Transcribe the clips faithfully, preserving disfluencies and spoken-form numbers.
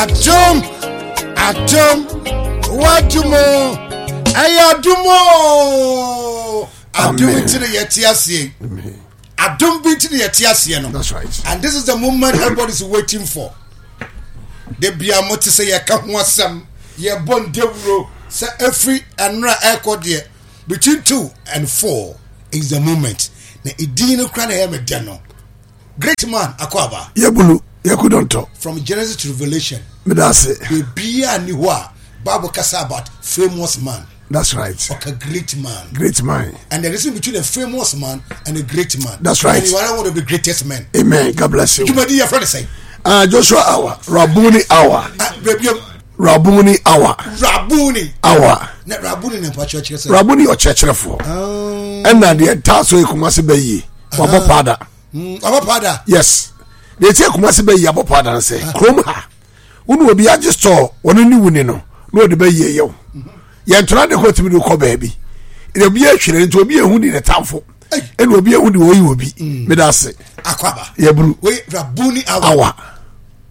Adom, adom, wadom o, ɛyɛ adom o. Adom Amen. nti na yɛte aseɛ. Adom bi nti na yɛte aseɛ no. That's right. And this is the moment everybody is waiting for. De bia mo te sɛ yɛka ho asɛm, yɛbɔ ndawuro sɛ efiri ɛnora ɛkɔ deɛ between two and four is the moment. Na edin no kora na ɛyɛ me dɛ no. Great man akɔ Yɛbulu yɛkudɔntɔ. From Genesis to Revelation. Meda ase. Bebia ni hɔ a Bible kasa about famous man. That's right. Ɔka great man. Great man. And there is between a famous man and a great man. That's right. And you are one of the greatest men. Amen. God bless you. Dwumadi yɛ fɛ ne sɛn. Uh, Joshua hour. Rabuni hour. Ah, baabi Rabuni hour. Rabuni. Hour. Na Rabuni na mpa kyerɛkyerɛ sɛ. Rabuni ɔkyerɛkyerɛfoɔ. Ɛna deɛ taa so yɛ Kumasi bɛ yie. Wabɔ paada. Wabɔ paada. Yes. Deɛ ti yɛ Kumasi bɛ yie abɔ paada no sɛ kurom ha. Wone obi agye store wɔn ne wuni no na ɔde bɛ yie yɛ wo. Yɛn ntoma de kɔ tumi de kɔ baabi. Ɛna obi atwere nti obi ehu di ne tamfo. Ɛna obi ehu di oyi obi. Meda ase. Akwaba. Yɛburu. Wei Rabuni hour. Hour.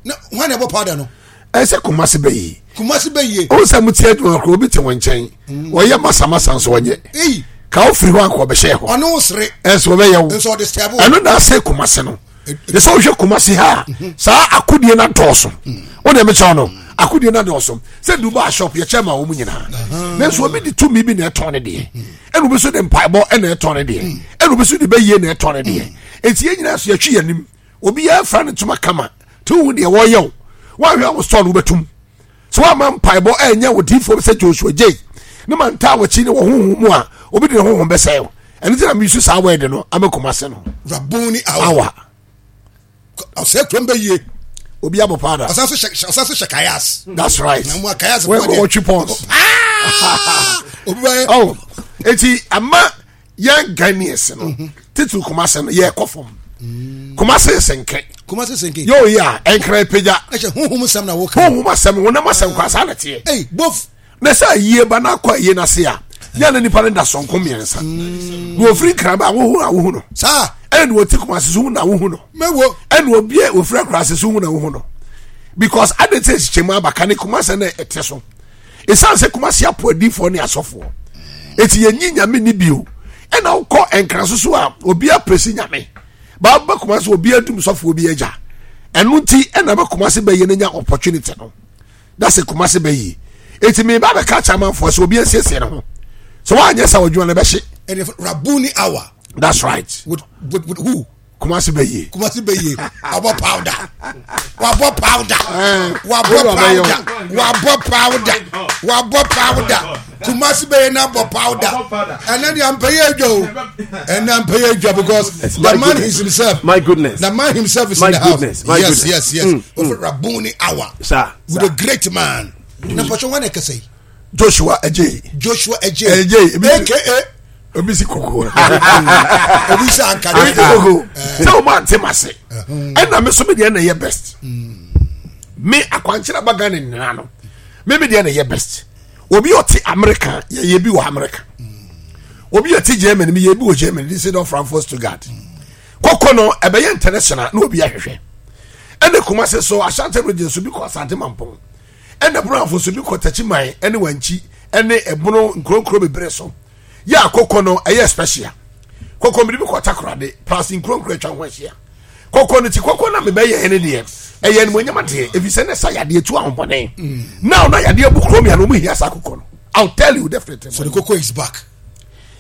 Na wɔn na ɛbɔ paada no. Ɛsɛ Kumasi bɛ yie. Kumasi bɛ yie. O sɛ mo ti adwuma koro obi te wɔn nkyɛn. Wɔyɛ masamasa nso wɔnyɛ. Eyi. Ka o firi hɔ akɔ ɔbɛhyɛ hɔ. Ɔno wo sere. Ɛsɛ ɔbɛyɛ wo. Nso ɔde sɛbo. Ɛno na ase Kumasi no. Ne sɛ wohwɛ Kumasi ha a saa akodie no adɔɔso. Wo deɛ mekyɛw no akodie no adɔɔso. Sɛ Dubai shop yɛkyɛ ma wɔn nyinaa. Nanso obi de tumi bi na ɛtɔn ne deɛ. Ɛna obi nso de mpaebɔ ɛna ɛtɔn ne deɛ. Ɛna obi nso de bɛyie na ɛtɔn ne deɛ. Eti yɛn nyinaa so yɛtwi yɛn anim. Obi yɛ afra ne ntoma kama. Te wo deɛ wɔyɛ o. Wɔahwɛ a wo store no wobɛtum. Sɛ woama mpaebɔ ɛnyɛ wo diifoɔ bi sɛ Joshua J ne ma ntaa wɔkyi ne wɔ honhom mu a obi de ne honhom bɛsɛe wo. Ɛno nti na mesu saa word no ama Kumase no. Rabuni hour. Hour. Ɔsɛ kurom bɛ yie. Obi abɔ paada. Ɔsan so hyɛ ɔsan so hyɛ kayas. That's right. Na mu a kayas Wɔ wɔtwi pɔns. Obi bɛ. Oh, eti ama yɛn Ghanaians no titiri Kumase no yɛ kɔ fam. Kumase senke. Kumasi senke. Yóò yi a ɛnkran pagya. Ɛhyɛ huhum sɛm na woka. Honhom asɛm honam asɛm kɔ asa na teɛ. Hey, both. Na sɛ ayie ba na akɔ ayie n'ase a yɛn na nipa no da sɔnko mmiɛnsa. Na ofiri nkran ba ahohu na ahohu no. Saa. Ɛna na ɔte Kumase so hu na ahohu no. Mɛwo. Ɛna obi a ofiri akurase so hu na ahohu no. Because ade te hyehyɛ mu abaka ne Kumase na ɛte so. Esan sɛ Kumase apo adiifoɔ ne asɔfoɔ. Eti yɛnyi nyame ni bio. Ɛna wokɔ nkran so so a obi apresi nyame. Baaba Kumase obi adum sɔfoɔ bi agya. Ɛno nti ɛna bɛ Kumase bɛyɛ no nya opportunity no. That's a Kumase bɛyie. Eti mi ba bɛka kyerɛ amanfoɔ sɛ obi asiesie ne ho. Sɛ woanyɛ sɛ ɔdwuma no bɛhye. Ɛnna Rabuni hour. That's right. With with with who? Kumase bɛyie. Kumasi bɛ yie. Wabɔ powder. Wabɔ powder. Wabɔ Wei wabɛyɛ powder. Wabɔ powder. Wabɔ powder. Kumasi bɛ yie na bɔ powder. Ɛnna de ampɛyɛ adwa o. Ɛnna ampɛyɛ adwa because the My man goodness. himself. My goodness. The man himself is My in the house. goodness. My yes, goodness. yes, yes. Mm, mm. Rabuni hour. Sir. With a great man. Na mpɔtɔ wɔn na ɛkasa yi. Joshua Adjei. Joshua Adjei. Adjei. AKA. Obi si koko. Obi sɛ anka Obi si koko. Sɛ o ma nte ma se. Ɛna mi so mi deɛ na ɛyɛ best. Me akwankyerɛ aba Ghana nyinaa no. Me mi deɛ na ɛyɛ best. Obi ɔte America yɛ yɛ bi wɔ America. Obi ɔte Germany mi yɛ bi wɔ Germany. This is not Frankfurt Stuttgart. Koko no ɛbɛyɛ international na obi ahwehwɛ. Ɛna Kumasi so Ashanti region so bi kɔ Asante Mampong. Ɛna Brafo so bi kɔ Techiman ɛne Wankyi ɛne ɛbono nkuronkuro bebree so. Yɛ akoko no ɛyɛ special. Koko mi de bi kɔ Takoradi plus nkuronkuro atwa ho ahyia. Koko no ti koko na mebɛyɛ ɛne deɛ ɛyɛ animonyam adeɛ efi sɛ ne sa yadeɛ tu ahombɔne. Now na yadeɛ bu kurom ya no ɔmo hia saa koko no. I'll tell you definitely. So the cocoa is back.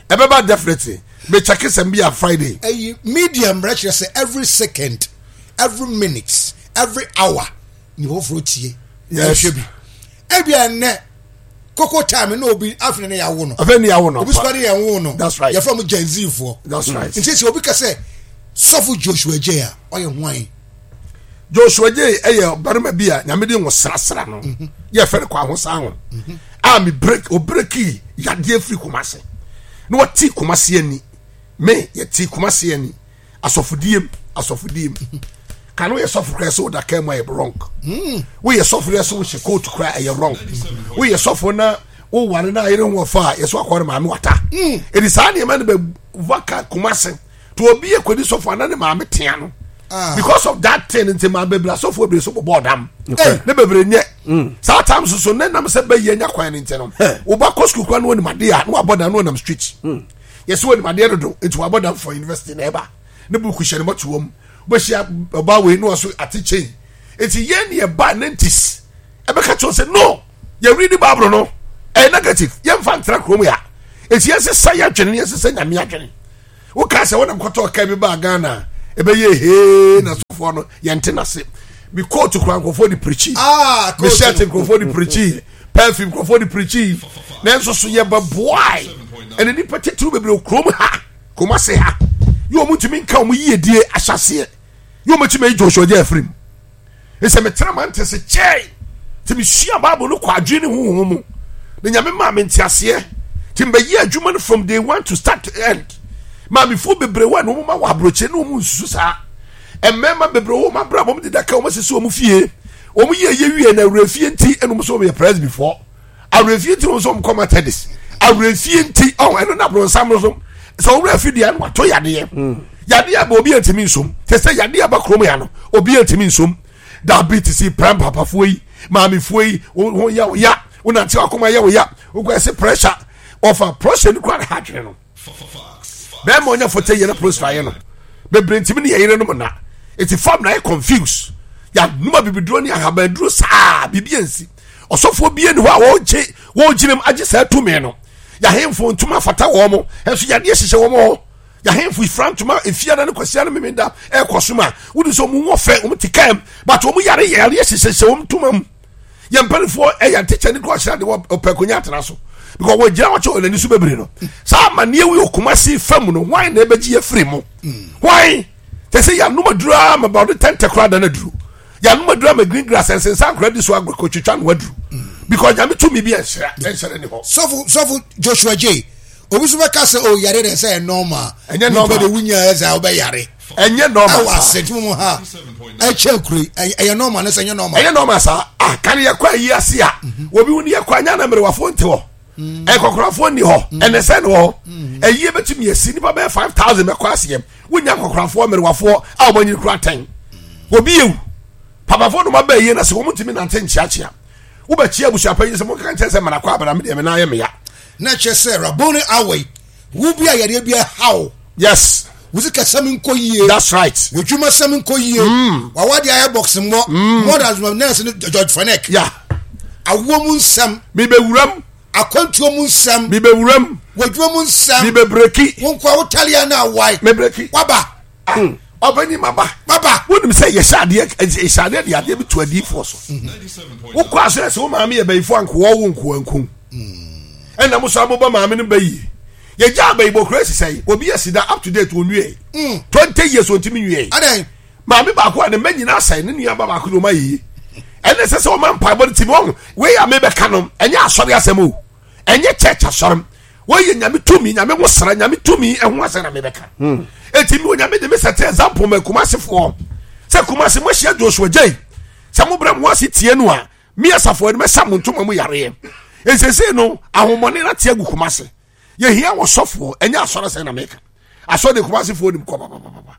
Ɛbɛba definitely. Me check sɛm bi a Friday. Ɛyi media mmerɛ kyerɛ sɛ every second, every minute, every hour ni foforɔ tie. Yes. Ɛhwɛ bi. Ebi ɛnɛ cocoa time na obi afei ne yawo no. Afei ne yawo no. Obi sukuu ne yɛn wo no. That's right. Yɛfrɛ mo Gen Z foɔ. That's right. Nti sɛ obi ka sɛ sɔfo Joshua Adjei a ɔyɛ hwan? Joshua Adjei ɛyɛ barima bi a nyame de ngo srasra no. Yɛ fɛ no kɔ ahosan ho. A mi break o breaki yadeɛ firi Kumase. Na wɔte Kumase ani. Me yɛte Kumase ani. Asɔfodiem asɔfodiem. Kan woyɛ sɔfo koraa sɛ woda kaa mu ayɛ wrong. Woyɛ sɔfo yɛ sɛ wohyɛ coat koraa ɛyɛ wrong. Woyɛ sɔfo na woware na ayere ho wɔfa a yɛsɛ wakɔre maame wata. Ɛdi saa nneɛma no bɛ waka Kumase. To obi yɛ kɔdi sɔfo ana ne maame tea no. Ah. Because of that thing nti maa bebree asɔfoɔ bebree so bɔbɔ ɔdam. Hey. Ne bebree nyɛ. Saa time soso ne nam sɛ bɛyɛ nya kwan ne nti no. Woba kɔ sukuu kwan no wɔnim adeɛ a na wabɔ dam na wɔnam street. Yɛsɛ wɔnim adeɛ dodo nti wabɔ dam for university na ɛba. Ne buku hyɛ ne mɔtoa mu. Wobɛhyia ɔbaa wei na wɔso ate chain. Nti yɛn ne yɛba nineties ɛbɛka kyerɛ sɛ no yɛ read Bible no ɛyɛ negative yɛmfa ntra kurom ya. Nti yɛnsesa yɛ adwene yɛnsesa Nyame adwene. Woka sɛ wonam kɔtɔ ɔka bi baa Ghana ɛbɛyɛ hee na sɔfoɔ no yɛnte n'ase. Mi kóòtù kura nkurɔfoɔ de pirikyi. Ah, Mi coach shirt no. nkurɔfoɔ de pirikyi. Perfume nkurɔfoɔ de pirikyi. Nanso so yɛbɛboae. Ɛna nipa titiriw bebree wɔ kurom ha. Kumasi ha. Yɛ wɔn ntumi nka wɔn yiedie ahyɛseɛ. Yɛ wɔn tumi ayi Joshua gya afiri mu. Nsɛ metena ma nte se kyɛe. Nti mesua Bible no kɔ adwene ne honhom mu. Na Nyame maa me nteaseɛ. Nti mbɛyɛ adwuma no from day one to start to end. Maamefoɔ bebree wɔ a na wɔn ma wɔ aburokyire na wɔn nsusu saa. Mmarima bebree wɔ wɔn abrabɔ wɔn deda ka wɔn asisi wɔn fie. Wɔn yɛ yɛ wie na awurafie nti ɛna wɔn nso wɔn yɛ presbyfoɔ. Awurafie nti wɔn nso wɔn kɔ Methodist. Awurafie nti ɔn ɛno na abronsam no so. Sɛ wɔn wura fi deɛ no wato yadeɛ. Yadeɛ aba obi ntumi nsom. Te sɛ yadeɛ aba kurom ya no obi ntumi nsom. Diabetes yi prɛm papafoɔ yi maamefoɔ yi wo ho yɛ wo ya wonante wakoma yɛ wo ya wokɔ ɛsɛ pressure ɔfa pressure no kura ne ha adwene no. Bɛrima ɔnya fɔtɛ yɛ na pressure ayɛ no bebree ntumi ne yɛ yere nom na eti fam na ayɛ confuse yanuma bibiduro ne ahabanduro saa biribi ansi ɔsɔfoɔ bie ne hɔ a wɔregye wɔregyina mu agye saa tumi no yɛahemfo ntoma fata wɔn mo ɛnso yadeɛ hyehyɛ wɔn hɔ yɛahemfo ifra ntoma efiada ne kwasia ne memenda ɛrekɔ so ma wodi sɛ wɔn wɔ fɛ wɔn ti kam but wɔn yare yareɛ hyehyɛ wɔn ntoma mu yɛn mpanimfoɔ ɛyɛ ntekyɛ ne kura ɔhyɛ de wɔ ɔpɛ akonnwa atena so because wɔgyina hɔ kyɛ wɔn ani so bebree no saa amaneɛ wi Kumasi fam no hwan na ɛbɛgye yɛ firi mu hwan te sɛ yɛanom aduru ama ba ɔde tɛntɛ koraa da no aduru yɛanom aduru ama green grass nsensan koraa di so agorɔ no aduru because Nyame tumi bi ɛnhyerɛ ɛnhyerɛ ne hɔ. Sɔfo sɔfo Joshua J. Obi so bɛka sɛ o yare de sɛ normal. Ɛnyɛ normal. Nipa de wunya ɛsɛ wobɛyare. Ɛnyɛ normal Ɛwɔ saa. ase tí mo ha ɛkyɛ kure ɛyɛ normal ne sɛ ɛnyɛ normal. Ɛnyɛ normal saa. Ah kan yɛ kɔ ayi ase a obi wo ni yɛ kɔ anya na mmerewafoɔ nte hɔ. Ɛkɔkorafoɔ nni hɔ. Ɛnɛ sɛ ne wɔ hɔ. Ɛyie bɛtumi asi nipa bɛyɛ five thousand bɛkɔ aseɛ. Wonya nkɔkorafoɔ mmerewafoɔ a wɔn anyini kura atɛn. Obi ewu. Papafoɔ no ma bɛɛ yie na sɛ wɔn ntumi nante nkyeakyea. Wobɛkyia abusuapanyin sɛ mo nka nkyɛn sɛ mmanakɔ abana mi deɛ me nan yɛ meya. Na kyerɛ sɛ Raboni awɔ yi wo bi a yareɛ bi ɛha Yes, wo sika sɛm nkɔ yie. that's right. W'adwuma sɛm nkɔ yie. Wawade ayɛ box mmɔ. More than nurse no George Fanek. Yeah. Awoɔ mu nsɛm. Mebɛwuram. Akwantuo mu nsɛm. Mebɛwuram. W'adwuma mu nsɛm. Mebɛbreki. Wo nkoa wo talia na awae. Mebreki. Waba. Ɔbɛnyi ma ba. Waba. Wonim sɛ yɛhyɛ adeɛ yɛhyɛ adeɛ de adeɛ bi to adiifoɔ so. Wokɔ aso yɛ sɛ wo maame yɛ bɛyifoɔ ankoa wo nkoa nkum. Ɛna mo so abobɔ maame no bɛyie. Yɛgya abayibɔ kura sisɛ obi yɛ sida up to date onwie. Twenty years ontimi nwie. Adɛn. Maame baako a ne mma nyinaa sɛe ne nua ba baako de ɔma yie. Ɛna ɛsɛ sɛ ɔma mpaebɔ no timi ɔho wei a mebɛka no ɛnyɛ asɔre asɛm o. Ɛnyɛ church asɔre. Wɔyɛ Nyame tumi, Nyame ho sra, Nyame tumi ɛho asɛm na mebɛka. Eti mi Onyame de me sɛte example ma Kumasefoɔ. Sɛ Kumase mo ahyia Joshua Jay. Sɛ mo brɛ mo ase tie no a, mi asafo ɛno mɛsa mo ntoma mu yareɛ. Nsese no ahomɔne na te agu Kumase. Yɛhia wɔ sɔfoɔ, ɛnyɛ asɔre asɛm na meka. Asɔre de Kumasefoɔ nim kɔ papapapa.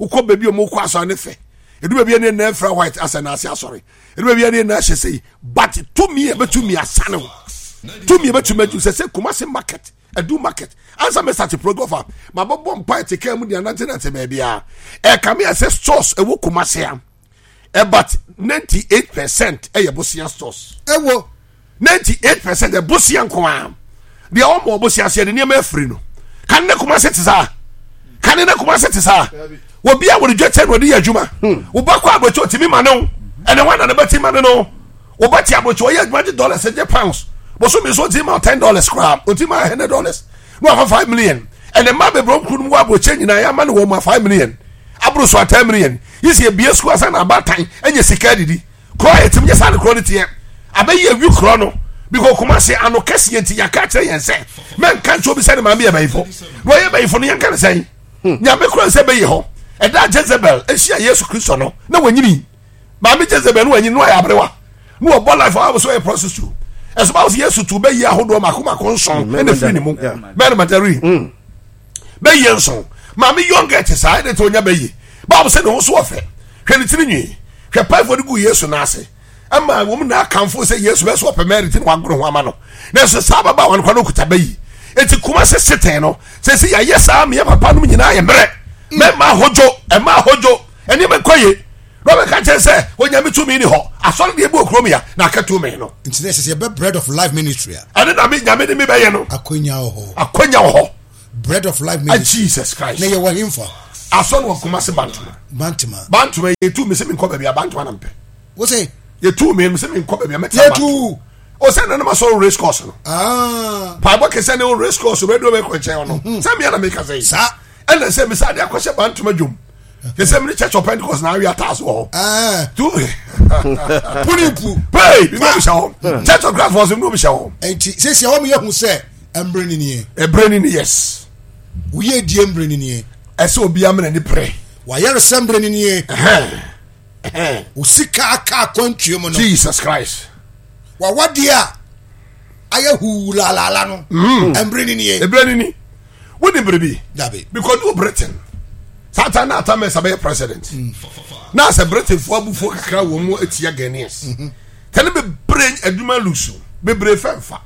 Wokɔ baabi a ɔmo kɔ asɔre ne fɛ. Edu baabi a ne nan fira white asɛ na ase asɔre. Edu baabi a ne nan hyɛ sɛyi. But tumi a ɛbɛtumi asane wo. Tumi a ɛbɛtumi agye sɛ sɛ Kumase market, Edu market. Ansa mɛ start program fa. Ma bɔbɔ mpa ɛte kaa mu de anante nante baabi a. Ɛka mi asɛ stores ɛwɔ Kumase a. About ninety eight percent ɛyɛ bosia stores. Ɛwɔ. ninety eight percent ɛbosia nko ara. Deɛ ɔmɔ ɔbosia seɛ de nneɛma afiri no. Kan ne Kumase te saa. Kan ne Kumase te saa. Obi a wɔde dwetɛ na ɔde yɛ adwuma. Woba kɔ aburokyi otimi ma ne ho. Ɛnɛ wɔn na ne bɛ ti ma ne no. Woba ti aburokyi ɔyɛ adwuma gye dollars gye pounds. Bosomi nso oti ma ten dollars koraa. Oti ma hundred dollars. Na wafa five million. Ɛnɛ mmaa bebree nkuru no mu wɔ aburokyi nyinaa yɛ ama ne wɔn ma five million. Aburo so a ten million. Yi si ebie sukuu asan na abaatan ɛnyɛ sika adidi. Kuro a yɛtumi nyɛ saa ne kuro no teɛ. Abɛyi awi kuro no. Because Kumasi ano kɛseɛ nti yɛaka kyerɛ yɛn sɛ mɛnka nkyɛn obi sɛ ne maame yɛ bɛyifo. Na ɔyɛ bɛyifo no yɛnka ne sɛn. Nyame kura sɛ bɛyɛ hɔ. Ɛda Jezebel ahyia Yesu Kristo no na wanyini. Maame Jezebel no wanyini no ayɛ aberewa. Na wɔbɔ life a wɔsɛ ɔyɛ prostitute. Ɛso báwo sɛ Yesu tu bɛyɛ ahodoɔ mako mako nson ɛna firi ne mu. Mary Magdalene. Bɛyɛ nson. Maame young girl te saa ɛna te onya bɛyɛ. Baabu sɛ ne ho so ɔfɛ. Hwɛ ne tiri nwi. Hwɛ paifo de gu Yesu n'ase. Ɛma wɔn na akamfo sɛ Yesu bɛ so ɔpɛ Mary ti na wagoro ho ama no. Nanso saa ababaawa no kora no okuta bɛyi. Eti Kumase sitɛn no sɛ sɛ yɛayɛ saa meyɛ papa nom nyinaa yɛ mmerɛ. Mɛma ahodwo, ɛma ahodwo, ɛnneɛma nkɔ yie. Na ɔbɛka kyerɛ sɛ Onyame tumi ni hɔ. Asɔre deɛ ebi wɔ kurom ya na aka tumi no. Nti na ɛsɛ sɛ yɛbɛ Bread of Life Ministry a. Ɛne na me Nyame ne me bɛyɛ no. Akonya wɔ hɔ. Akonya wɔ hɔ. Bread of Life Ministry. Jesus Christ. Na yɛwɔ hemfa? Asɔre wɔ Kumase Bantama. Bantama. Bantama yɛtu me sɛ menkɔ baabi a Bantama na mpɛ. Wo sɛ? Yɛtu me sɛ menkɔ baabi a mɛtena. Yɛtu. O sɛ nana ma sɔrɔ race course no. Ah. Paabɔ kɛsɛ ne o race course radio bɛ kɔ nkyɛn no. Sɛ mmea na meka sɛ yi. Saa. Ɛna sɛ mesa de akɔhyɛ Bantama dwom. Yɛ sɛ mene Church of Pentecost na awi ataase wɔ hɔ. Tu. Punipu. Pei, bi mi hyɛ hɔ. Church of Christ wɔ so mi hyɛ hɔ. Nti sisi ɛwɔ mi yɛ hu sɛ ɛmbrɛ ni nie. Ɛbrɛ ni ni yes. Woyɛ die mbrɛ ni nie. Ɛsɛ obi amena ni pere. Wayɛresɛ mbrɛ ni nie. Osika aka akwantuo mu no. Jesus Christ. Wawadeɛ a ayɛ huu laalaala no. Ɛmbrɛ ni nie. Ɛbrɛ ni ni. Wodi biribi. Dabi. Because du Britain. Saa ta na ata mɛsa bɛyɛ president. Na sɛ Britain fo abufuo kakra wɔ mu etia Ghanaians. Tɛne bebree adwuma lusu bebree fɛnfa.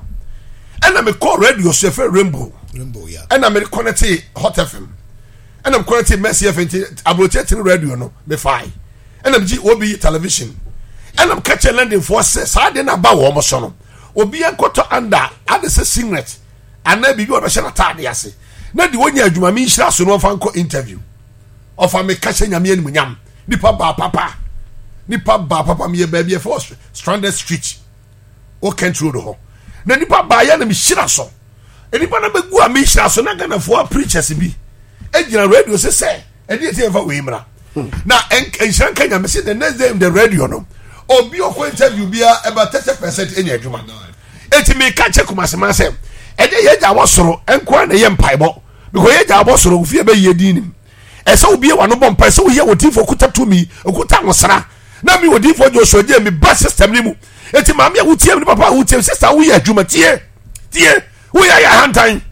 Ɛna me kɔ radio so yɛfrɛ Rainbow. Rainbow ya. Ɛna me connect Hot F M. Ɛna me connect Mercy F M nti aburokye tene radio no me fae. Ɛna me gye obi television. Ɛna me kakyɛ London foɔ sɛ saa de na ba wɔn so no. Obi nkɔtɔ under ade sɛ singlet anaa biribi a ɔbɛhyɛ n'ataade ase. Na de wonya adwuma me nhyira so no ɔfa nkɔ interview. Ɔfa me kahyɛ Nyame animuonyam. Nipa baa papa. Nipa baa papa meyɛ baabi ɛfɛ Stranded Street. O Kent Road hɔ. Na nipa baa yɛ na me hyira so. Nipa na bɛgu a me hyira so na Ghanafoɔ preachers bi egyina radio sɛ sɛ ɛde ɛti ɛmfa wei mmra. Na nhyira nka Nyame sɛ the next day in the radio no obi ɔkɔ interview bia ɛba thirty percent enya adwuma. Eti meka kyɛ Kumase sɛ ɛde yɛ gya wɔ soro nkoa na yɛ mpaebɔ because yɛ gya wɔ soro ofie bɛ yie din nim. Ɛsɛ obi yɛ wano bɔ mpa ɛsɛ oyɛ odinfo kuta tumi okuta nwosra na mi odinfo Joshua gye mi ba system ni mu. Eti maame a wotie mi ne papa a wotie mi sister woyɛ adwuma tie tie woyɛ ayɛ ahantan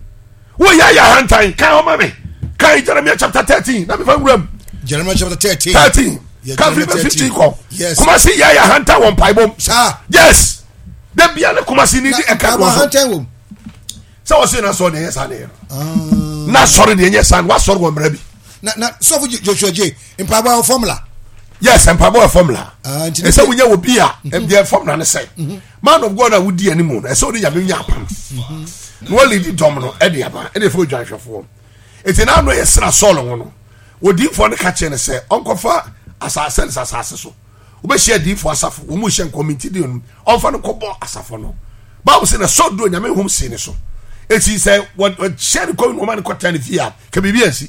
woyɛ ayɛ ahantan kan ɔma mi kan Jeremiah chapter thirteen na mi fa nwura mu. Jeremiah chapter thirteen. thirteen kan fi bɛ fifteen kɔ. Kumasi yɛ ayɛ ahantan wɔ mpaebɔ mu. Yes. De bia ne Kumasi ni di ɛka wɔ so. Sɛ wɔsi na sɔrɔ deɛ ɛnyɛ saa deɛ no. Na sɔrɔ deɛ ɛnyɛ saa no wasɔrɔ wɔ mmerɛ bi. Na na sɔfo Joshua J mpaebɔ wɔ formula. Yes, mpaebɔ wɔ formula. Ɛsɛ wonya wɔ bi a deɛ formula ne sɛ man of God a wodi anim no ɛsɛ wode Nyame nya apam. Na wɔledi dɔm no ɛde aba ɛde fɛ odwanhwɛfoɔ. Eti na ano yɛ sra Saul ho no odiifoɔ no ka kyerɛ no sɛ ɔnkɔfa asase ne asase so. Wobɛhyia adiifoɔ asafo wɔn mu hyɛ nkɔmiti di no ɔmfa no kɔbɔ asafo no. Baabu sɛ na Saul duro Nyame hom si ne so. Eti sɛ wɔhyɛ ne kɔmi na wɔma no kɔtena ne fie a ka biribi ansi.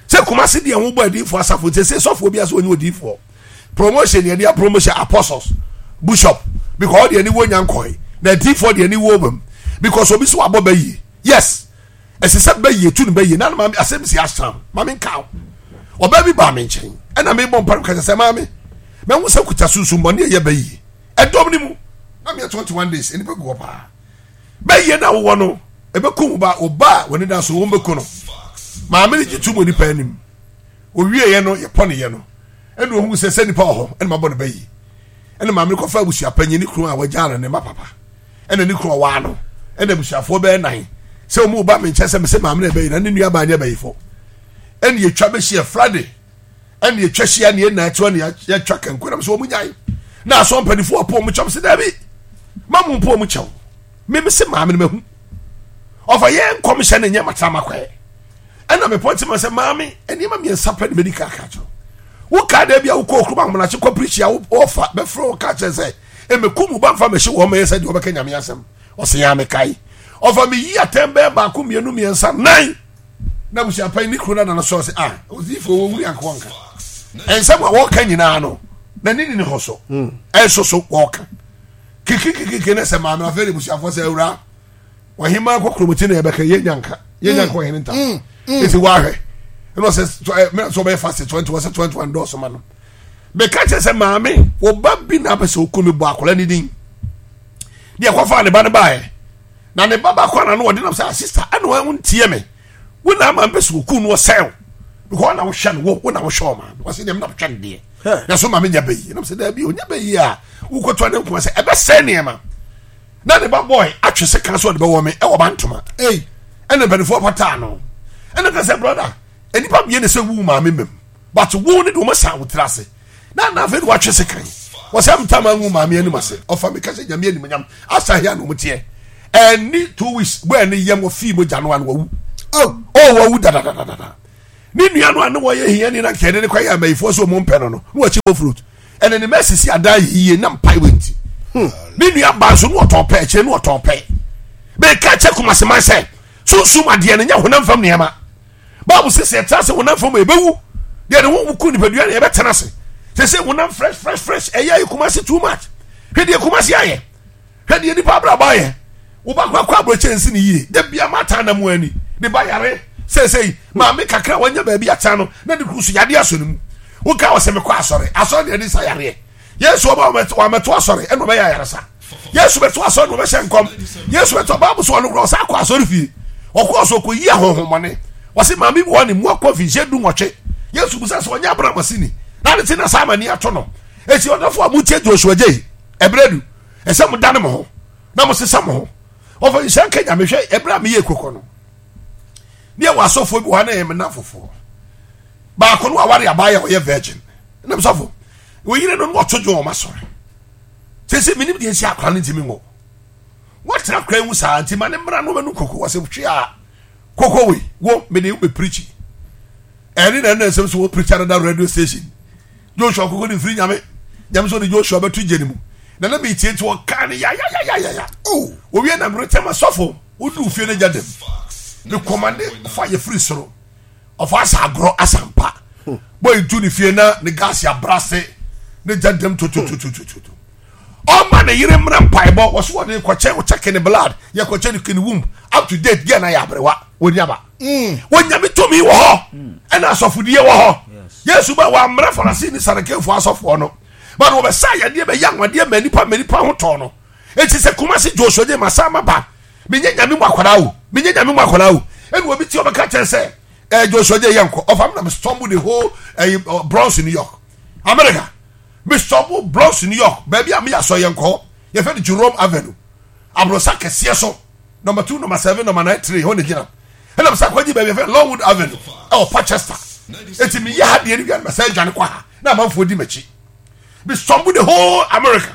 Sɛ Kumasi deɛ ho bɔ adiifoɔ asafo nti sɛ sɔfoɔ bi ase wɔnyɛ odiifoɔ. Promotion yɛ deɛ promotion apostles bishop because ɔdeɛ ni wo nya nkɔe na adiifoɔ deɛ ni wo bam because obi so wabɔ bɛyie. Yes. Ɛsɛ sɛ bɛyie tu no bɛyie na maame asɛm si asram maame nka wo. Ɔbaa bi baa me nkyɛn ɛna mebɔ mpa no kasa sɛ maame mɛhu sɛ kuta sunsun bɔne ɛyɛ bɛyie ɛdɔm ne mu na meyɛ twenty one days nnipa gu hɔ paa bɛyie na wowɔ no ɛbɛku wo ba wo ba a wɔne da so wɔn bɛku no. Maame no gye to mu nipa anim owieɛ no yɛpɔ ne yɛ no ɛna ohun sɛ sɛ nipa wɔ hɔ ɛna mabɔ no bɛyie ɛna maame no kɔfa abusua panyin ne kunu a wɔagya no ne ma papa ɛna ne kunu ɔwaa no ɛna abusuafoɔ bɛyɛ nan sɛ wɔn ba me nkyɛn sɛ mese maame na ɛbɛyi na ne nua baa ne ɛbɛyifo ɛna yɛtwa bɛhyia Friday ɛna yɛtwa hyia ne yɛn ɛtoɔ ne yɛtwa kanko na sɛ wɔn nyae na asɔ mpanimfoɔ ɔpɔ wɔn kyɛw sɛ daabi ma mo mpo wɔn kyɛw meme se maame no mahu ɔfa yɛn nkɔmhyɛ ne nyɛ matama kɔɛ ɛna mepɔ nti ma sɛ maame nneɛma mmiɛnsa pɛ ne mɛdi ka ka kyerɛ wo kaa da bi a wokɔ okurum ahomakye kɔ pirikyi a wɔfa bɛfrɛ wo ka kyerɛ sɛ ɛmɛku mu ba mfa mɛhyɛ wɔn mɛyɛ sɛ deɛ wɔbɛka Nyame asɛm ɔsɛ yɛn amekae ɔfa meyi atɛn bɛɛ baako mmienu mmiɛnsa nan na abusuapan ne kuro no nana sɔɔ sɛ ah odiifoɔ wɔ wuri anka wɔnka ɛnsɛm a wɔka nyinaa no na ne ni ne hɔ so ɛnso so wɔka kikikikiki ne sɛ maame afei de abusuafoɔ sɛ awura ɔhema kɔ kuromoti na yɛbɛka yɛnya nka yɛnya nka ɔhene ntam ɛti wɔahwɛ ɛna ɔsɛ sɛ ɔbɛyɛ fast twenty wɔsɛ twenty one dɔɔso ma no meka kyerɛ sɛ maame wo ba bi na apɛ sɛ ɔku me bɔ akwadaa ne din deɛ kɔfa ne ba no baeɛ na ne ba baako ana no ɔde nam sɛ asista ɛna wɔn ntie me wo na ama mpɛ sɛ ɔku no ɔsɛw Because na wohwɛ no, wo wo na wohwɛ ɔma no. Wɔsi deɛ mi na wohwɛ no deɛ. Na so maame nya bɛyi. Na sɛ dɛbi onya bɛyi a wokɔtɔ ne nkuma sɛ ɛbɛsɛ nneɛma. Na ne ba boy atwe sɛ kan so ɔde bɛwɔ me ɛwɔ ba ntoma. Ɛna mpanimfoɔ pataa no. Ɛna ka sɛ brother, nnipa mmienu sɛ wu maame mɛm. But wo ne de wɔn san wo tiri ase. Na na afei de watwe se kan. Wɔsɛ mtama ngu maame anim ase. Ɔfa mi kasa nyame anim nyam. Asa hia na wɔn teɛ. Ɛni two weeks bɔ ɛni yam wɔ fii mo gya no ano wawu. Oh, oh wawu dadadadada. Ne nua no a ne wɔyɛ hia ni na nkɛde ne kɔ yɛ amayifoɔ so wɔn mpɛ no no. Na wɔakyi bɔ fruit. Ɛna ne mɛ sisi adan yie na mpae wɔ nti. Hmm. Ne nua ba nso no ɔtɔn pɛ akyire no ɔtɔn pɛ. Bɛka kyɛ kumaseman sɛ sunsum adeɛ no nyɛ honam fam nneɛma. Bible sɛ sɛ yɛtena ase honam fam a yɛbɛwu deɛ ne ho ku nipadua na yɛbɛtena ase sɛ sɛ honam fresh fresh fresh ɛyɛ ayɛ kumase too much hwɛ deɛ kumase ayɛ hwɛ deɛ nipa abrabɔ ayɛ woba kɔ akɔ aburokye nsi ne yie de bia mata na mu ani ne ba yare sɛsɛyi maame kakra wanya baabi atena no na ne kuru so yadeɛ asɔ ne mu woka wɔ sɛ mekɔ asɔre asɔre deɛ ne sa yareɛ Yesu ɔba wɔamɛto asɔre ɛna ɔbɛyɛ ayaresa. Yesu bɛto asɔre na ɔbɛhyɛ nkɔm. Yesu bɛto baabu so ɔno kora ɔsan akɔ asɔre fie. Ɔkɔɔ so ɔkɔyi ahonhommɔne. Wɔsi maame bi wɔ ne mu akɔ mfinhyia du nwɔtwe. Yesu busa sɛ ɔnyɛ Abraham aseni. Na ne ti na saa amani ato no. Esi ɔdɔfo a motie Joshua Gyei ɛberɛ du ɛsɛ mo dane mo ho na mo sesa mo ho. Ɔfa nhyira nka Nyame hwɛ ɛberɛ a meyɛ ekokɔ no. Ne ɛwɔ asɔfoɔ bi wɔ ha na ɛyɛ me nnamfofoɔ. Baako no aware abaayewa ɔyɛ virgin. Ɛnam sɔfo oyere no na ɔto dwom ɔma sɔre sese menim deɛ nsi akora no ntimi nwɔ wɔtena akora yi ho saa nti ma ne mmara no ɔmɛnu koko wɔsɛ hwe a koko wei wo mede wo bɛpirikyi ɛne na ɛna nsɛm so wɔ pirikyi another radio station Joshua koko ne mfiri nyame nyame sɛ ɔde Joshua bɛto gye ne mu na na metie nti ɔka ne yayayayaya oh owie na meretɛm asɔfo wodu fie no gya dam mekɔmande fa yɛfiri soro ɔfa asa agorɔ asampa bɔ ntu ne fie na ne gas abrase ne gya dɛm totototototo ɔma ne yere mmra mpaebɔ wɔso wɔde kɔkyɛ wɔkyɛke ne blood yɛkɔkyɛ ne kene womb up to date gɛ na yɛ aberewa wɔni aba mm. wɔnyame tumi wɔ hɔ mm. ɛna asɔfodie wɔ hɔ yesu ba wɔammra farasi ne sarekefoɔ asɔfoɔ no but wɔbɛsa yadeɛ bɛyɛ anwadeɛ ma nipa ma nipa ho tɔɔ no eti sɛ kumasi joshua gye masa ma ba menyɛ nyame mu akwadaa o menyɛ nyame mu akwadaa o ɛna obi ti ɔbɛka kyerɛ sɛ ɛɛ joshua gye yɛ nkɔ ɔfa mi na mi stumble the whole ɛyi Bronx New York America mi stumble Bronx New York baabi a mi yɛ asɔ yɛ nkɔ yɛfɛ no Jerome Avenue aborosa kɛseɛ so number two number seven number nine three hɔ na gyina ɛna mi sɛ akɔgye baabi yɛfɛ Longwood Avenue ɛwɔ Parkchester eti mi yɛ ha deɛ ni wia na sɛ ɛdwane kɔ ha na amanfoɔ di m'akyi mi stumble the whole America.